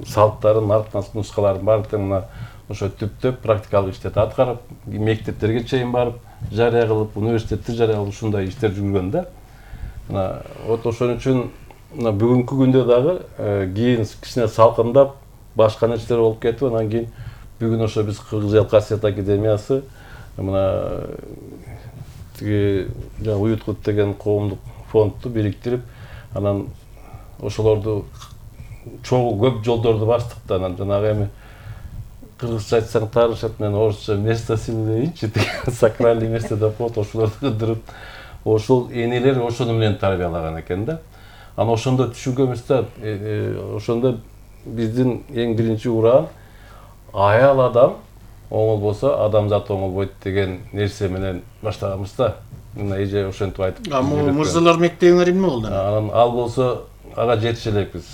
салттарын, наркы нускаларын баардыгын мына ошо түптөп практикалык иштет аткарып, мектептерге чейин барып, жарыя кылып, университетти жарыя кылып ушундай иштер жүргөн да. Мына вот ошон үчүн мына бүгүнкү күндө дагы кийин кичине салкындап, башка нерселер болуп кетип, анан кийин бүгүн ошо биз Кыргыз эл касиет академиясы мына тиги Уюткут деген коомдук фондду бириктирип, анан ошолорду чогуу көп жолдорду бастык да. Анан жанагы эми кыргызча айтсаң таанышат, мен орусча место силы дейинчи, сакральный место деп коет, ошолорду кыдырып, ошол энелер ошону менен тарбиялаган экен да. Анан ошондо түшүнгөнбүз да, ошондо биздин эң биринчи ураан аял адам оңол болсо адамзат оңол болот деген нерсе менен баштаганбыз да. Мына эже ошентип айтып. Мырзалар мектебиңер эмне болду? Анан ал болсо ага жетише элекпиз.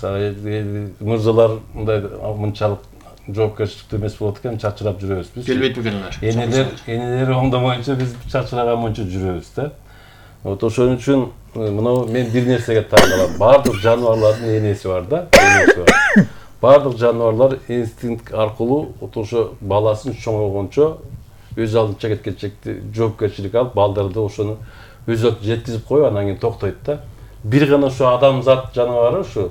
Мырзалар мындай мынчалык жоопкерчиликтүү эмес болот экен, чачырап жүрөбүз биз. Келбейт экен алар. Энелер оңдомоюнча биз чачыраган жүрөбүз да. Вот ошон үчүн мына мен бир нерсеге таң калам. Бардык жаныбарлардын энеси бар да, энеси бар. Бардык жаныбарлар инстинкт аркылуу ошо баласын чоңойгончо өз алдынча кеткенчекти жоопкерчилик алып, балдарды ошону өзөк жеткизип коюп, анан кийин токтойт да. Бир гана ошо адамзат жаныбары ошо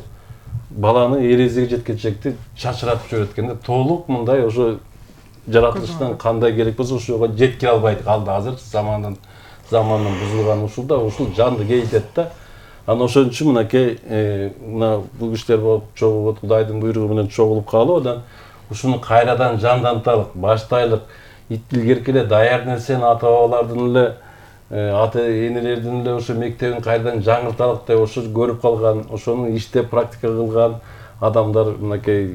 баланы эрезиге жеткенчекти чачыратып жиберет экен да. Толук мындай ошо жаратылыштан кандай керек болсо ошого жеткире албайт калды. Азыр замандан бузулган ушулда ушул жанды кейтет да. Анан ошон үчүн мынакей мына бул кишилер болуп чогулуп, Кудайдын буйругу менен чогулуп калып, анан ушуну кайрадан жандантайлык, баштайлык, илгерки эле даяр нерсени ата-бабалардын эле, ата-энелердин эле ошо мектебин кайрадан жаңырталык деп ошо көрүп калган, ошону иштеп практика кылган адамдар мынакей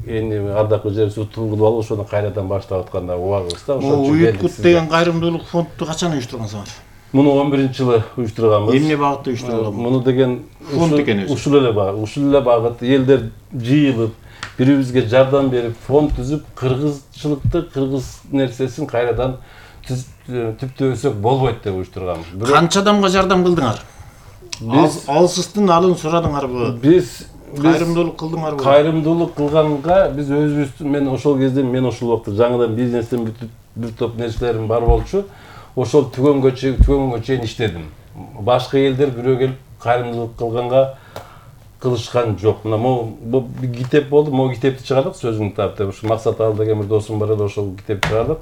Ардак Көжөбүз утуп алып ошону кайрадан баштап атканда убагыбыз да. Ошон үчүн Уюткут деген кайрымдуулук фондду качан уюштургансыңар? Муну 11-жылы уюштурганбыз. Эмне багытта уюштурулган? Муну деген фонд экен өзү. Ушул эле багыт, элдер жыйылып, бири-бирибизге жардам берип, фонд түзүп, кыргызчылыкты, кыргыз нерсесин кайрадан түптөбөсөк болбойт деп уюштурганбыз. Канча адамга жардам кылдыңар? Алсыздын алын сурадыңарбы? Биз кайрымдуулук кылдыңарбы? Кайрымдуулук кылганга биз өзүбүздүн, мен ошол кезде ошол убакта жаңыдан бизнестен бир топ нерселерим бар болчу. Ошол түгөнгө чейин иштедим. Башка элдер бирөө келип кайрымдуулук кылганга кылышкан жок. Мына могу китеп болду, могу китепти чыгардык, сөзүң тап деп. Ушу Максат Ал деген бир досум бар эле, ошол китепти чыгардык.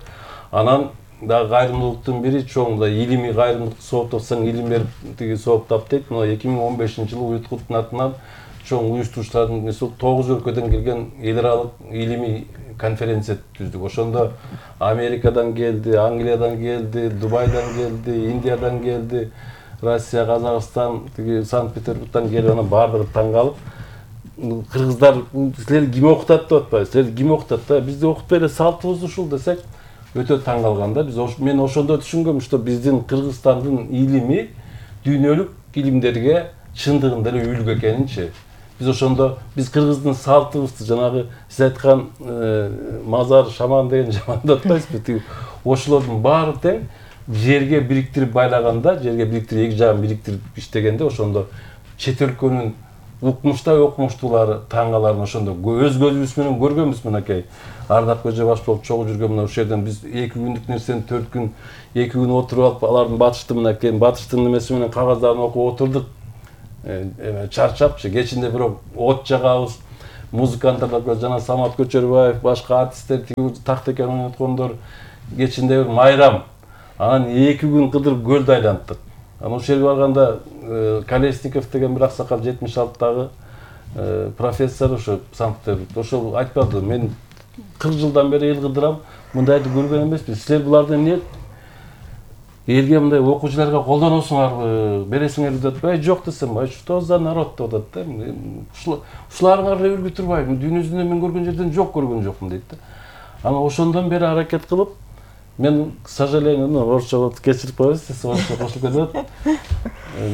Анан дагы кайрымдуулуктун бири чоң да илимий кайрымдуулук сооптосоң илим берип тиги сооптап дейт. Мына 2015-жылы Уюткуттун атынан чоң уюштуруучулардын несі 9 өлкөдөн келген эл аралык илимий конференция түздүк. Ошондо Америкадан келди, Англиядан келди, Дубайдан келди, Индиядан келди, Россия, Казакстан, Санкт-Петербургдан келип, анан баардыгы таң калып, кыргыздар силер ким окутат деп атпайбы? Силер ким окутат да? Бизди окутпай эле салтыбыз ушул десек, өтө таң калган да. Мен ошондо түшүнгөм, что биздин Кыргызстандын илими дүйнөлүк илимдерге чындыгында эле үлгү экенинчи. Биз ошондо кыргыздын салтыбызды жанагы сиз айткан мазар, шаман деген жамандап атпайсызбы? Ошолордун баары тең жерге бириктирип байлаганда, жерге бириктирип эки жагын бириктирип иштегенде ошондо чет өлкөнүн укмуштай окумуштуулары таңгаларын ошондо өз көзүбүз менен көргөнбүз мынакей. Ардак Көжөбашев болуп чогуу жүргөн мына ошол жерден биз 2 күндүк нерсени 4 күн 2 күн отуруп алып алардын батыштын немеси менен кагаздарын окуп отурдук. Чарчапчы кечинде бирок от жагабыз. Музыканттар жана Самат Көчөрбаев, башка артисттер тактекен ойноткондор кечинде бир майрам. Анан 2 күн кыдырып көлдү айланттык. Анан ошол жерге барганда Колесников деген бир аксакал 76-дагы профессор ошо Санкт-Петербургда ошол айтпады, мен 40 жылдан бери эл кыдырам, мындайды көргөн эмеспиз. Силер буларды эмне элге мындай окуучуларга колдоносуңарбы, бересиңерби деп атпайбы? Жок десем, что за народ деп атат да. Ушуларыңар эле үргү турбайбы? Дүйнө жүзүндө мен көргөн жерден көргөн жокмун дейт да. Анан ошондон бери аракет кылып, мен, к сожалению, орусча болуп кечирип коесуз, орусча кошулуп кетет.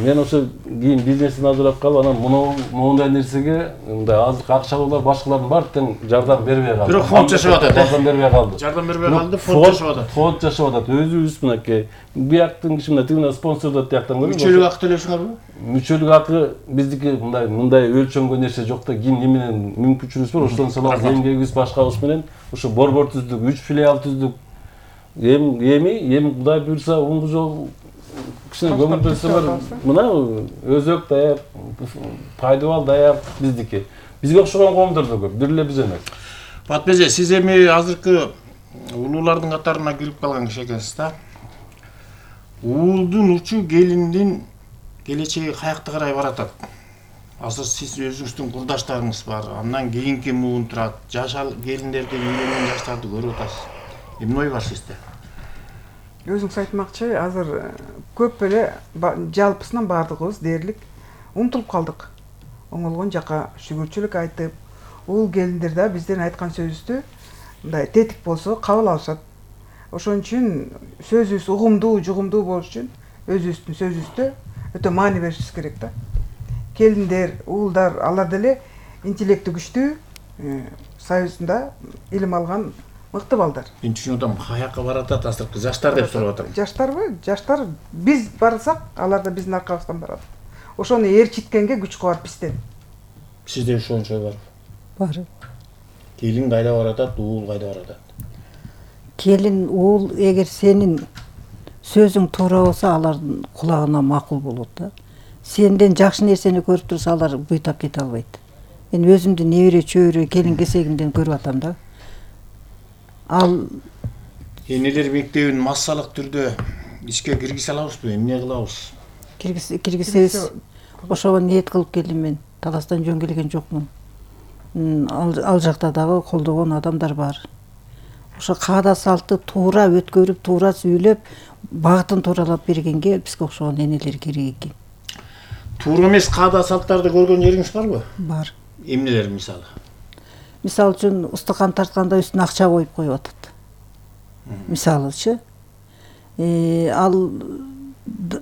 Мен ошо кийин бизнесин ажырап калып, анан моундай нерсеге мындай азык акчалуулар башкалардын баары тең жардам бербей калды. Бирок фонд жашап атат. Жардам бербей калды. Жардам бербей калды, фонд жашап атат. Фонд жашап атат. Өзүбүз мынакей бияктын киши мына тигине спонсордот тияктан көрүп. Мүчөлүк акы төлөйсүңөрбү? Мүчөлүк акы биздики мындай өлчөнгөн нерсе жок да, ким менен мүмкүнчүлүгүбүз бар, ошондон салабыз, эмгегибиз башкабыз менен ошо борбор түздүк, 3 филиал түздүк. Эми Кудай буйрса оңгу жол кичине көңүл берсе бар. Мына өзөк даяр, пайдабал даяр биздики. Бизге окшогон коомдор да көп, бир эле биз эмес. Батбеже, сиз эми азыркы улуулардын катарына кирип калган киши экенсиз да. Уулдун учу келиндин келечеги каякта карай баратат? Азыр сиз өзүңүздүн курдаштарыңыз бар, андан кийинки муун турат, жаш келиндерди, үйлөнгөн жаштарды көрүп атасыз. Эмне ой бар сизде? Өзүңүз айтмакчы, азыр көп эле жалпысынан баардыгыбыз дээрлик умтулуп калдык. Оңолгон жака шүгүрчүлүк айтып, уул келиндер да биздин айткан сөзүбүздү мындай тетик болсо кабыл алышат. Ошон үчүн сөзүбүз угумдуу, жугумдуу болуш үчүн өзүбүздүн сөзүбүздө өтө маани беришибиз керек да. Келиндер, уулдар, алар деле интеллекти күчтүү, союзунда илим алган мыкты балдар. Мен түшүнүп атам, каякка баратат азыркы жаштар деп сурап атам. Жаштарбы? Жаштар биз барсак, алар да биздин аркабыздан барат. Ошону ээрчиткенге күч кубат бизден. Сизде ошончо бар. Бар. Келин кайда баратат, уул кайда баратат? Келин, уул эгер сенин сөзүң туура болсо, алардын кулагына макул болот да. Сенден жакшы нерсени көрүп турса, алар буйтап кете албайт. Мен өзүмдүн небере чөбөрө келин кесегимден көрүп атам да. Ал Энелер мектебин массалык түрдө ишке киргизе алабызбы? Эмне кылабыз? киргизебиз. Ошого ниет кылып келдим мен. Таластан жөн келген жокмун. Ал жакта дагы колдогон адамдар бар. Ошо каада салтты туура өткөрүп, туура сүйлөп, багытын тууралап бергенге бизге окшогон энелер керек экен. Туура эмес каада салттарды көргөн жериңиз барбы? Бар. Эмнелер мисалы? Мисалы үчүн устукан тартканда үстүнө акча коюп атат. Мисалычы. Ал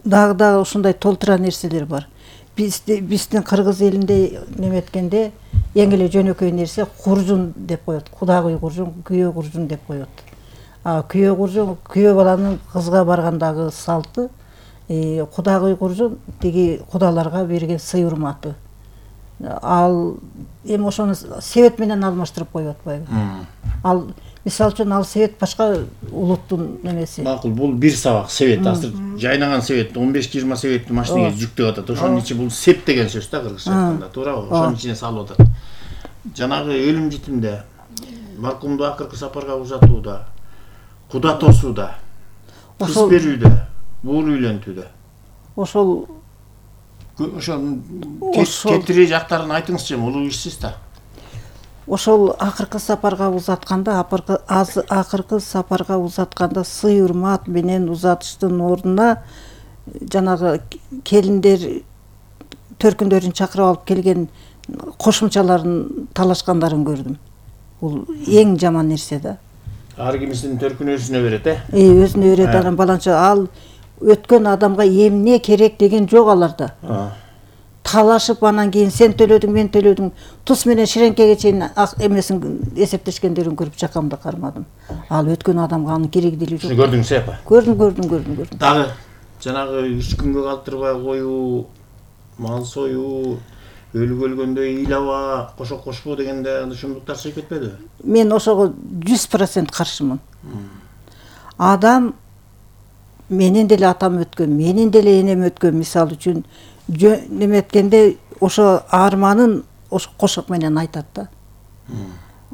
дагы ушундай толтура нерселер бар. Биздин кыргыз элинде неметкенде эң эле жөнөкөй нерсе куржун деп коет. Кудагый куржун, күйөө куржун деп коет. Күйөө куржун, күйөө баланын кызга баргандагы салты, кудагый куржун тиги кудаларга берген сый урматы. Ал эми ошону себет менен алмаштырып коюп атпайбы? Ал мисалы үчүн ал себет башка улуттун немеси. Макул, бул бир сабак себет, азыр жайнаган себет 15-20 себетти машинеге жүктөп атат. Ошонун ичи бул сеп деген сөз да кыргызча айтканда, туурабы? Ошонун ичине салып атат. Жанагы өлүм житимде, маркумду акыркы сапарга узатууда, куда тосууда, кыз берүүдө, уул үйлөнтүүдө. Ошол кетири жактарын айтыңызчы, улуу ишсиз да. Ошол акыркы сапарга узатканда сый урмат менен узатыштын ордуна жанагы келиндер төркүндөрүн чакырып алып келген кошумчаларын талашкандарын көрдүм. Бул эң жаман нерсе да. Ар кимисинин төркүнү өзүнө берет, Өзүнө берет, анан баланча ал өткөн адамга эмне керек деген жок аларда. Талашып анан кийин сен төлөдүң, мен төлөдүң, тус менен ширеңкеге чейин эмесин эсептешкендерин көрүп жакамды кармадым. Ал өткөн адамга анын кереги деле жок. Көрдүңүз апа? Көрдүм. Дагы жанагы 3 күнгө калтырбай коюу, мал союу, өлүк өлгөндө ыйлаба, кошок кошпоо дегенде ушундуктар чыгып кетпедиби? Мен ошого 100% каршымын. Адам менен деле атам өткөн, менен деле энем өткөн, мисалы үчүн неме эткенде ошо арманын ошо кошок менен айтат да.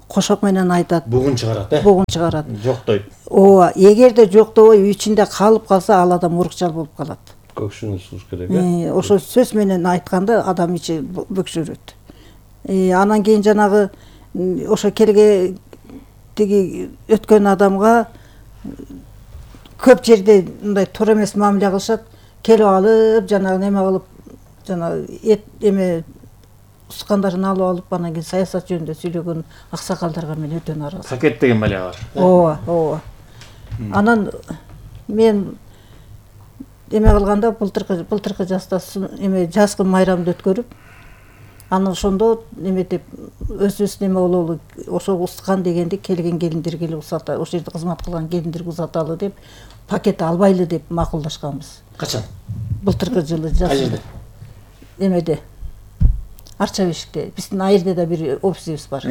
Кошок менен айтат. Бугун чыгарат, Бугун чыгарат. Жоктойт. Ооба, эгерде жоктобой ичинде калып калса, ал адам урукчал болуп калат. Көкшүнү сууш керек, Ошо сөз менен айтканда адам ичи бөксөрөт. Анан кийин жанагы ошо келге тиги өткөн адамга көп жерде мындай туура эмес мамиле кылышат. Келип алып, жанагы неме кылып, жанагы эме ускандарын алып алып, анан кийин саясат жөнүндө сүйлөгөн аксакалдарга мен өтө нааразы. Пакет деген бале бар. Ооба. Анан мен эме кылганда былтыркы жазда эме жазгы майрамды өткөрүп, анан ошондо эметип өзүбүз неме бололу, ошо ускан дегенди келген келиндер келип узата, ошол жерде кызмат кылган келиндерге узаталы деп пакет албайлы деп макулдашканбыз. Качан? Былтыркы жылы жаз. Кай жерде? Эмеде. Арча бешикте. Биздин айырда да бир офисибиз бар.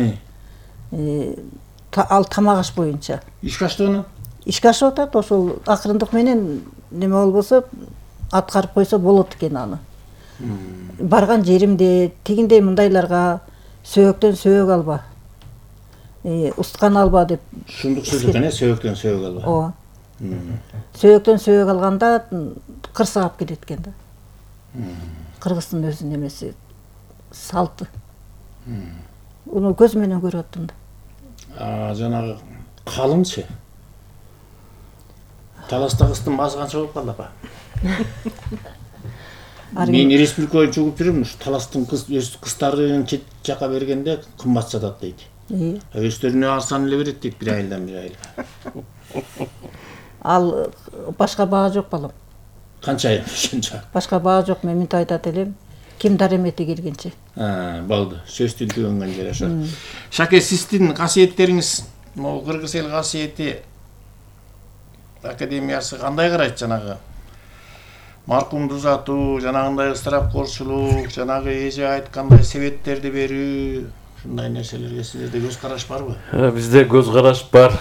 Ал тамак аш боюнча. Ишке аштыгына? Ишке ашып атат, ошол акырындык менен неме болбосо аткарып койсо болот экен аны. Барган жеримде тигиндей мындайларга сөөктөн сөөк алба, устган алба деп. Ушундук сөз экен, сөөктөн сөөк алба. Ооба. Сөөктөн сөөк алганда кырсыгап кетет экен да. Кыргыздын өзүнүн немеси, салты. Уну көз менен көрүп аттым да. Жанагы калыңчы. Таласта кыздын баасы канча болуп калды апа? Мен республика боюнча угуп жүрөм, ушу таластын кыздарын чет жака бергенде кымбат сатат дейт. Өздөрүнө арзан эле берет дейт, бир айылдан бир айылга. Ал башка баа жок балам. Канча айыл ошончо? Башка баа жок, мен мынтип айтат элем. Ким даремети келгенче. Болду. Сөз тилтөгөнгөн жер ошо. Шаке, сиздин касиеттериңиз, могу кыргыз эл касиети академиясы кандай карайт жанагы? Маркумду узатуу, жанагындай ысырапкорчулук, жанагы эже айткандай себеттерди берүү, ушундай нерселерге сиздерде көз караш барбы? Бизде көз караш бар.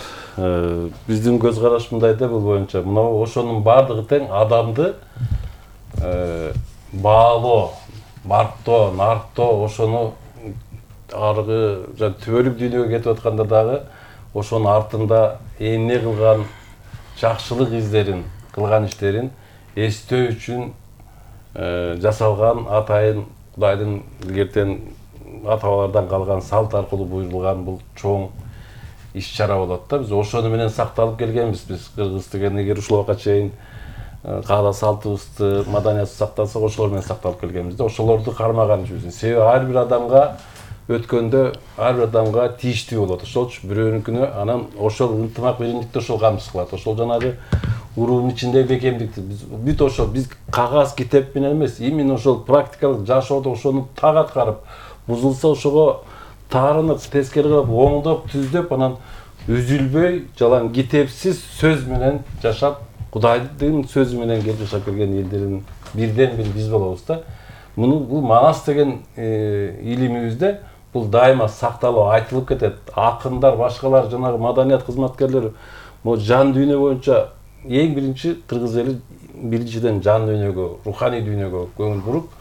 Биздин көз караш мындай да, бул боюнча. Мына ошонун баардыгы тең адамды баалоо, барктоо, нарктоо, ошону аргы түбөлүк дүйнөгө кетип атканда дагы ошонун артында эмне кылган жакшылык издерин, кылган иштерин эстөө үчүн жасалган атайын Кудайдын илгертен ата-бабалардан калган салт аркылуу буйрулган бул чоң иш-чара болот да. Биз ошону менен сакталып келгенбиз. Биз кыргыз деген эгер ушул убакка чейин каада салтыбызды, маданиятыбызды сактасак, ошолор менен сакталып келгенбиз да. Ошолорду кармаган үчүн. Себеби ар бир адамга өткөндө ар бир адамга тийиштүү болот. Ошолчу бирөөнүкүнө анан ошол ынтымак биримдикти ошол камсыз кылат. Ошол жанагы уруунун ичиндеги бекемдикти бүт ошол биз кагаз китеп менен эмес, именно ошол практикалык жашоодо ошону так аткарып, бузулса ошого таарынып, тескери кылып, оңдоп, түздөп, анан үзүлбөй, жалаң китепсиз сөз менен жашап, Кудайдын сөзү менен келип жашап келген элдердин бирден бири биз болобуз да. Бул Манас деген илимибизде бул дайыма сакталып айтылып кетет. Акындар, башкалар, жанагы маданият кызматкерлери могу жан дүйнө боюнча эң биринчи кыргыз эли биринчиден жан дүйнөгө, руханий дүйнөгө көңүл буруп,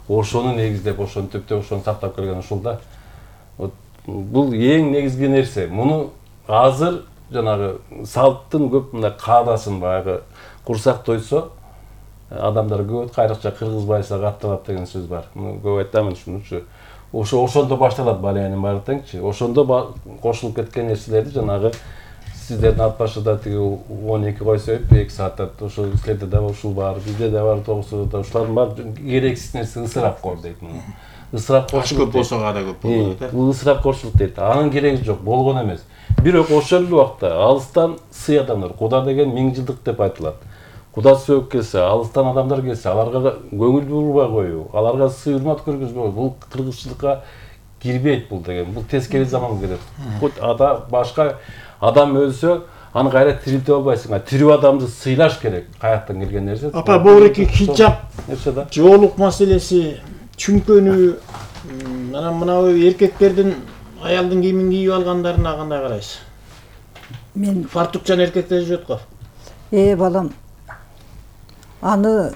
ошону негиздеп, ошону төптөп, ошону сактап келген ушул да. Бул эң негизги нерсе. Муну азыр жанагы салттын көп мындай каадасын баягы курсак тойсо адамдар көп кайрыкча кыргыз байса катталат деген сөз бар. Муну көп айтамын ушунучу. Ошондо башталат балиянын баары теңчи. Ошондо кошулуп кеткен нерселерди жанагы сиздердин ат башыда тиги 12 койсо 2 сааттат ошол силерде да ушул бар, бизде да бар, 9 да ушулардын баары керексиз нерсе, ысырапкор дейт муну. Ысырапкорчулук көп болсо да көп болот э. Бул ысырапкорчулук дейт. Анын кереги жок, болгон эмес. Бирок ошол эле убакта алыстан сый адамдар, Куда деген 1000 жылдык деп айтылат. Куда сөөк келсе, алыстан адамдар келсе, аларга көңүл бурбай коюу, аларга сый урмат көргөзбөй, бул кыргызчылыкка кирбейт бул деген. Бул тескери заман келет. Башка адам өлсө, аны кайра тирилтип албайсың. Тирүү адамды сыйлаш керек. Каяктан келген нерсе. Апа, богуреки хиджаб, нерсе да. жоолук маселеси, чүңкөнүү, анан мына эркектердин аялдын кийимин кийип алгандарына кандай карайсыз? Мен Фартукчан эркектер жүрөт го. балам, аны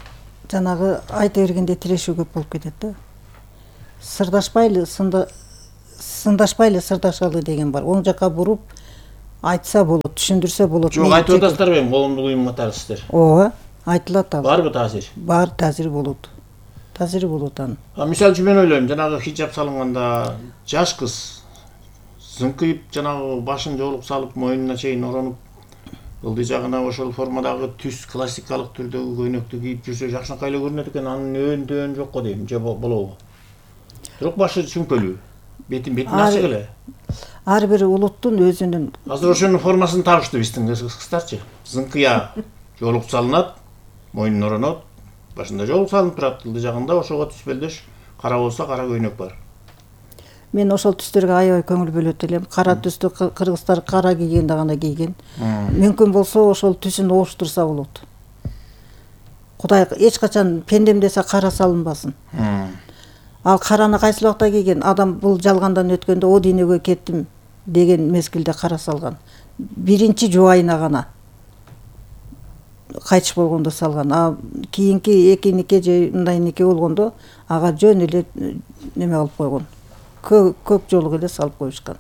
жанагы айта бергенде тирешүү көп болуп кетет да. Сырдашпайлы, сындашпайлы сырдашалы деген бар. Оң жакка буруп айтса болот, түшүндүрсө болот. Жок, айтып атасыздарбы эми коомдук уюм катарысыздар? Ооба, айтылат ал. Барбы таасир? Бар, таасири болот. Таасири болот анын. Мисалы үчүн мен ойлойм, жанагы хиджаб салынганда жаш кыз зыңкыйып, жанагы башын жоолук салып, мойнуна чейин оронуп, ылдый жагына ошол формадагы түс классикалык түрдөгү көйнөктү кийип жүрсө жакшынакай эле көрүнөт экен. Анын өөн жок го дейм, же болобу? Бирок башы чүңкөлүү, бетин ачык эле. Ар бир улуттун өзүнүн Азыр ошонун формасын табышты биздин кыздарчы. Зыңкыя жоолук салынат, мойнун оронот, башында жоолук салынып турат, ылдый жагында ошого түспөлдөш кара болсо кара көйнөк бар. мен ошол түстөргө аябай көңүл бөлөт элем. Кара түстү кыргыздар кара кийген гана кийген. Мүмкүн болсо ошол түсүн ооштурса болот. Кудай эч качан пендем десе кара салынбасын. Ал караны кайсы убакта кийген? Адам бул жалгандан өткөндө о дүйнөгө кеттим деген мезгилде кара салган. Биринчи жубайына гана кайтыш болгондо салган. А кийинки экинике же мындайнике болгондо ага жөн эле неме кылып койгон. Көк жолук эле салып коюшкан.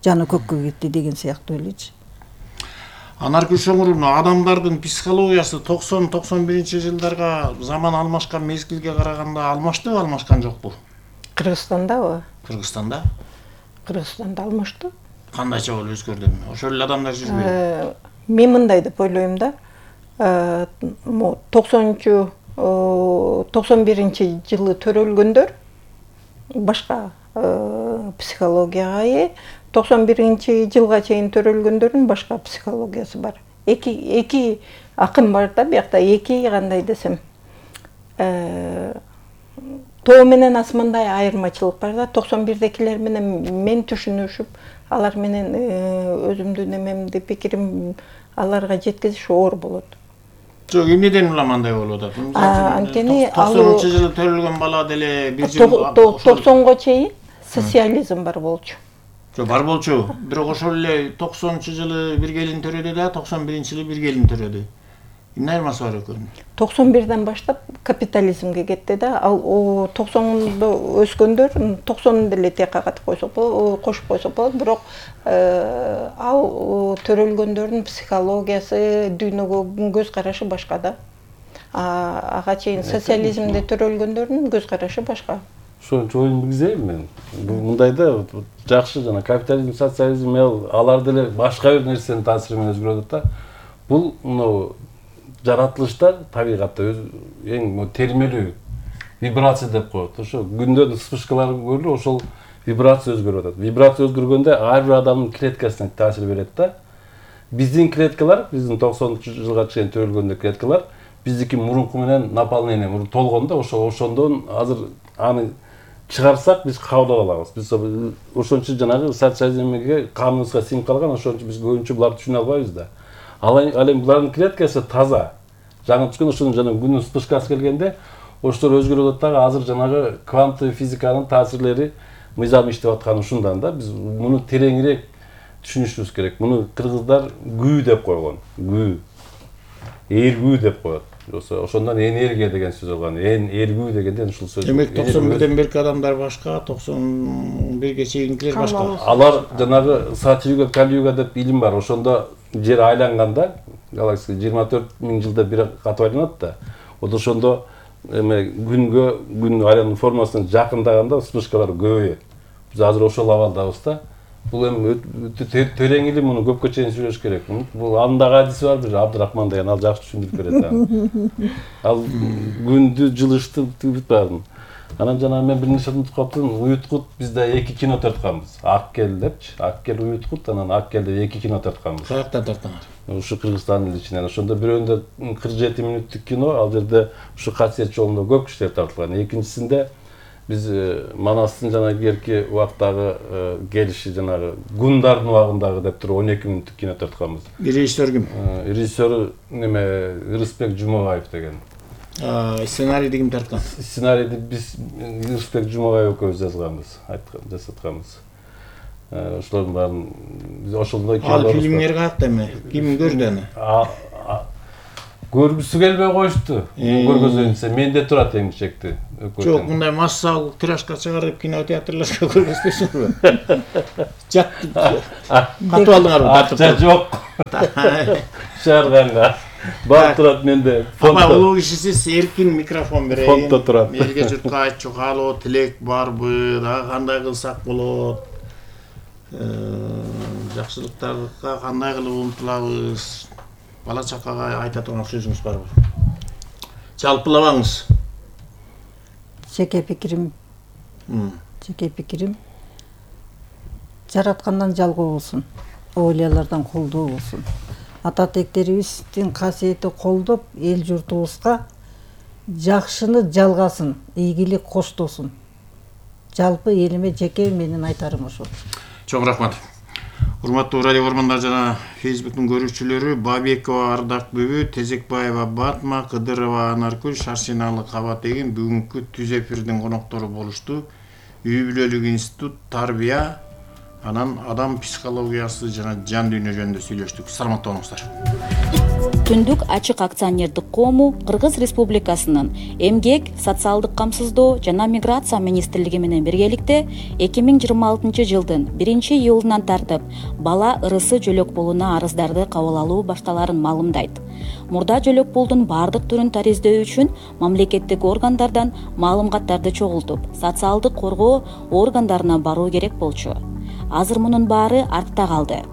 Жаны көккө кетти деген сыяктуу элечи. Анаркүл Шоңуровна, адамдардын психологиясы 90-91 жылдарга заман алмашкан мезгилге караганда алмаштыбы, алмашкан жокпу? Кыргызстандабы? Кыргызстанда? Кыргызстанда алмашты. Кандайча болуп өзгөрдүмү? Ошол эле адамдар жүрбөйбү? Мен мындай деп ойлойм да. 91 жылы төрөлгөндөр башка психологияга ээ, 91 жылга чейин төрөлгөндөрдүн башка психологиясы бар. Эки акым бар да, биякта эки кандай десем. Тоо менен асмандай айырмачылык бар да. 91декилер менен мен түшүнүшүп, алар менен өзүмдүн эмемди, пикирим аларга жеткизиш оор болот. Жок, эмнеден улам андай болуп атат? Анткени 90-жылы төрөлгөн бала деле бир жыл 90го чейин социализм бар болчу. Жок, бар болчу. Бирок ошол эле 90-жылы бир келин төрөдү да, 91-жылы бир келин төрөдү. Эмне айырмасы бар экөөнүн? 91ден баштап капитализмге кетти да. Ал 90-да өскөндөр 90 деле текка катып кошуп койсок болот. Бирок ал төрөлгөндөрдүн психологиясы, дүйнөгө көз карашы башка да. Ага чейин социализмде төрөлгөндөрдүн көз карашы башка. Ошо оюн билгизейм мен. Мындай да жакшы жана капитализм, социализм алар деле башка бир нерсенин таасири менен өзгөрөт да. Бул жаратылышта табигатта эң термелүү вибрация деп коет. Ошо күндөн вспышкалар көрүлүп, ошол вибрация өзгөрүп атат. Вибрация өзгөргөндө ар бир адамдын клеткасына таасир берет да. Биздин клеткалар, биздин 90-жылга чейин төрөлгөндө клеткалар биздики мурунку менен наполнение толгондо, ошондон азыр аны чыгарсак биз кабыл алабыз. Биз ошончо жанагы социализмге каныбызга сиңип калган, ошончо биз көбүнчө буларды түшүнө албайбыз да. Ал эми булардын клеткасы таза. Жаңы түшкөн ошонун жана күнүн вспышкасы келгенде ошолор өзгөрүп атат дагы. Азыр жанагы кванттык физиканын таасирлери мыйзам иштеп атканы ушундан да. Биз муну тереңирээк түшүнүшүбүз керек. Муну кыргыздар гүү деп койгон. Гүү. Эргүү деп коет. Ошондон энергия деген сөз алган. Эргүү дегенден ушул сөз. Демек 91ден берки адамдар башка, 91ге чейинкилер башка. Алар жанагы Сатюга, Калюга деп илим бар. Ошондо жер айланганда, галактика 24.000 жылда бир кат айланат да. Ошондо күн айлануу формасына жакындаганда вспышкалар көбөйөт. Биз азыр ошол абалдабыз да. Бул эми терең илим, муну көпкө чейин сүйлөш керек. Бул андагы адиси бар бир Абдырахман деген, ал жакшы түшүндүрүп берет. Ал күндү жылышты барын. Анан жана мен бир нерсе унутуп калыптым. Уюткут бизде 2 кино тартканбыз. Аккел депчи. Аккел Уюткут, анан Аккел деп 2 кино тартканбыз. Каяктан тартканар? Ушу Кыргызстандын ичинен. Ошондо бирөөндө 47 мүнөттүк кино, ал жерде ушу касиет жолунда көп кишилер тартылган. Экинчисинде Биз Манастын жана кийинки убактагы келиши жанагы Гундардын убагындагы деп туруп 12 мүнөттүк кино тартканбыз. Режиссер ким? Режиссеру неме Ырысбек Жумабаев деген. Сценарийди ким тарткан? Сценарийди биз Ырысбек Жумабаев экөөбүз жазганбыз, жасатканбыз. Ошолордун баарын биз ошондой кино. Ал фильмдер каякта эми? Ким көрдү аны? Көргүсү келбей коюшту. Көргөзөйүнсө менде турат эң чекти. Жок, мындай массалык тиражга чыгарып кинотеатрларга көргөзбөйсүңөрбү? Жат. Катып алдыңарбы? Акча жок. Чыгарганга. Бар турат менде. Апа, улуу кишисиз, эркин микрофон берейин. Фондто турат. Элге журтка айтчу каалоо, тилек барбы? Дагы кандай кылсак болот? Жакшылыктарга кандай кылып умтулабыз? Бала чакага айта турган сөзүңүз барбы? Жалпылабаңыз. Жеке пикирим жараткандан жалгоо болсун, оолиялардан колдоо болсун. Ата тектерибиздин касиети колдоп, эл журтубузга жакшыны жалгасын, ийгилик коштосун. Жалпы элиме жеке менин айтарым ошол. Чоң рахмат. Урматтуу радио көрөрмандар жана Facebook'тун көрүүчүлөрү, Бабекова Ардак Бүбү, Тезекбаева Батма, Кыдырова Анаркүл, Шарсиналы Кабат Эгин бүгүнкү түз эфирдин коноктору болушту. Үй бүлөлүк институт, тарбия, анан адам психологиясы жана жан дүйнө жөнүндө сүйлөштүк. Саламатта болуңуздар. Түндүк ачык акционердик коому Кыргыз Республикасынын Эмгек, социалдык камсыздоо жана миграция министрлиги менен биргеликте 2026 жылдын 1-июлунан тартып бала ырысы жөлөк пулуна арыздарды кабыл алуу башталарын маалымдайт. Мурда жөлөк пулдун бардык түрүн тариздөө үчүн мамлекеттик органдардан маалыматтарды чогултуп, социалдык коргоо органдарына баруу керек болчу. Азыр мунун баары артта калды.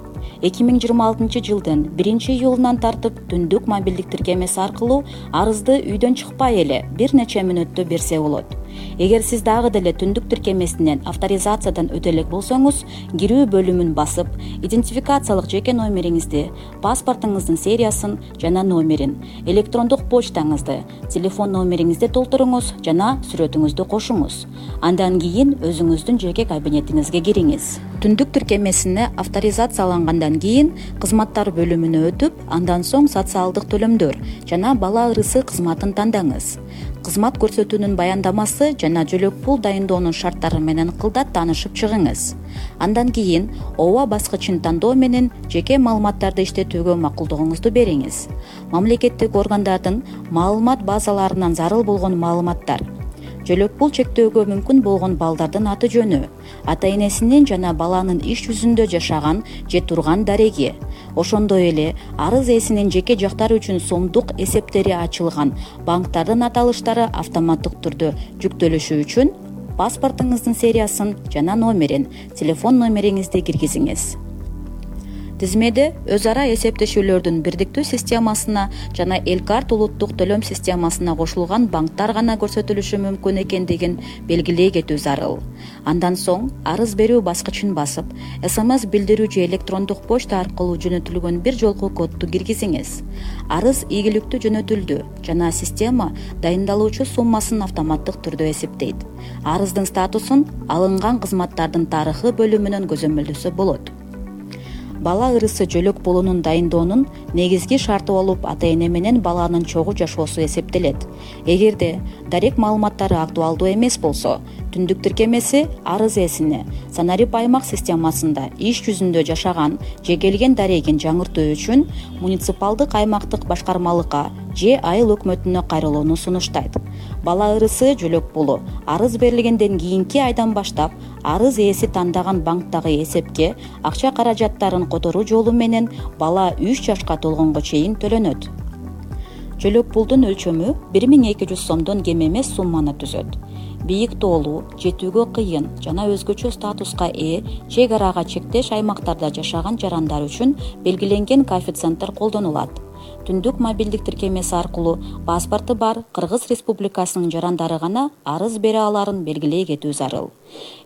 2026 жылдын 1-июлунан тартып түндүк мобилдик тиркемеси аркылуу арызды үйдөн чыкпай эле бир нече мүнөттө берсе болот. Эгер сиз дагы деле түндүк тиркемесинен авторизациядан өтө элек болсоңуз, кирүү бөлүмүн басып, идентификациялык жеке номериңизди, паспортуңуздун сериясын жана номерин, электрондук почтаңызды, телефон номериңизди толтуруңуз жана сүрөтүңүздү кошуңуз. Андан кийин өзүңүздүн жеке кабинетиңизге кириңиз. Түндүк тиркемесине авторизациялангандан кийин кызматтар бөлүмүнө өтүп, андан соң социалдык төлөмдөр жана бала ырысы кызматын тандаңыз. Кызмат көрсөтүүнүн баяндамасы жана жөлөк пул дайындоонун шарттары менен кылдат таанышып чыгыңыз. Андан кийин ооба баскычын тандоо менен жеке маалыматтарды иштетүүгө макулдугуңузду бериңиз. Мамлекеттик органдардын маалымат базаларынан зарыл болгон маалыматтар, жөлөк пул чектөөгө мүмкүн болгон балдардын аты жөнү, ата-энесинин жана баланын иш жүзүндө жашаган же турган дареги, ошондой эле арыз ээсинин жеке жактары үчүн сомдук эсептери ачылган банктардын аталыштары автоматтык түрдө жүктөлүшү үчүн паспортуңуздун сериясын жана номерин, телефон номериңизди киргизиңиз. Тизмеде өз ара эсептешүүлөрдүн бирдиктүү системасына жана Элкарт улуттук төлөм системасына кошулган банктар гана көрсөтүлүшү мүмкүн экендигин белгилей кетүү зарыл. Андан соң арыз берүү баскычын басып, СМС билдирүү же электрондук почта аркылуу жөнөтүлгөн бир жолку кодду киргизиңиз. Арыз ийгиликтүү жөнөтүлдү жана система дайындалуучу суммасын автоматтык түрдө эсептейт. Арыздын статусун алынган кызматтардын тарыхы бөлүмүнөн көзөмөлдөсө болот. Бала ырысы жөлөк пулунун дайындоонун негизги шарты болуп ата-эне менен баланын чогуу жашоосу эсептелет. Эгерде дарек маалыматтары актуалдуу эмес болсо, түндүк тиркемеси арыз ээсине Санарип аймак системасында иш жүзүндө жашаган же келген дарегин жаңыртуу үчүн муниципалдык аймактык башкармалыкка же айыл өкмөтүнө кайрылууну сунуштайт. Бала ырысы жөлөк пулу арыз берилгенден кийинки айдан баштап арыз ээси тандаган банктагы эсепке акча каражаттарын которуу жолу менен бала 3 жашка толгонго чейин төлөнөт. Жөлөк пулдун өлчөмү 1200 сомдон кем эмес сумманы түзөт. Бийик тоолуу, жетүүгө кыйын жана өзгөчө статуска ээ чек арага чектеш аймактарда жашаган жарандар үчүн белгиленген коэффициенттер колдонулат. Түндүк мобилдик тиркемеси аркылуу паспорту бар Кыргыз Республикасынын жарандары гана арыз бере аларын белгилей кетүү зарыл.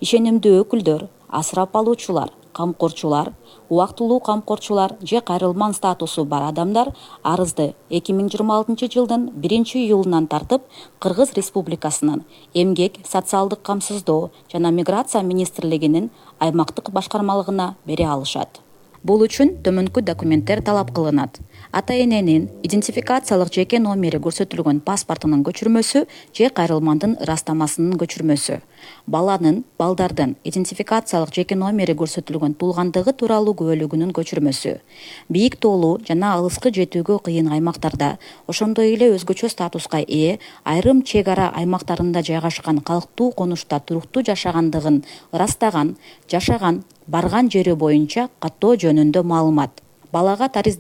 Ишенимдүү өкүлдөр, асырап алуучулар, камкорчулар, убактылуу камкорчулар же кайрылман статусу бар адамдар арызды 2026 жылдын 1-июлунан тартып Кыргыз Республикасынын Эмгек, социалдык камсыздоо жана миграция министрлигинин аймактык башкармалыгына бере алышат. Бул үчүн төмөнкү документтер талап кылынат. Ата-эненин идентификациялык жеке номери көрсөтүлгөн паспортунун көчүрмөсү же кайрылмандын ырастамасынын көчүрмөсү. Балдардын идентификациялык жеке номери көрсөтүлгөн туулгандыгы тууралуу күбөлүгүнүн көчүрмөсү. Бийик тоолуу жана алыскы жетүүгө кыйын аймактарда, ошондой эле өзгөчө статуска ээ айрым чек ара аймактарында жайгашкан калктуу конушта туруктуу жашагандыгын ырастаган, жашаган, барган жери боюнча каттоо жөнүндө маалымат. Балага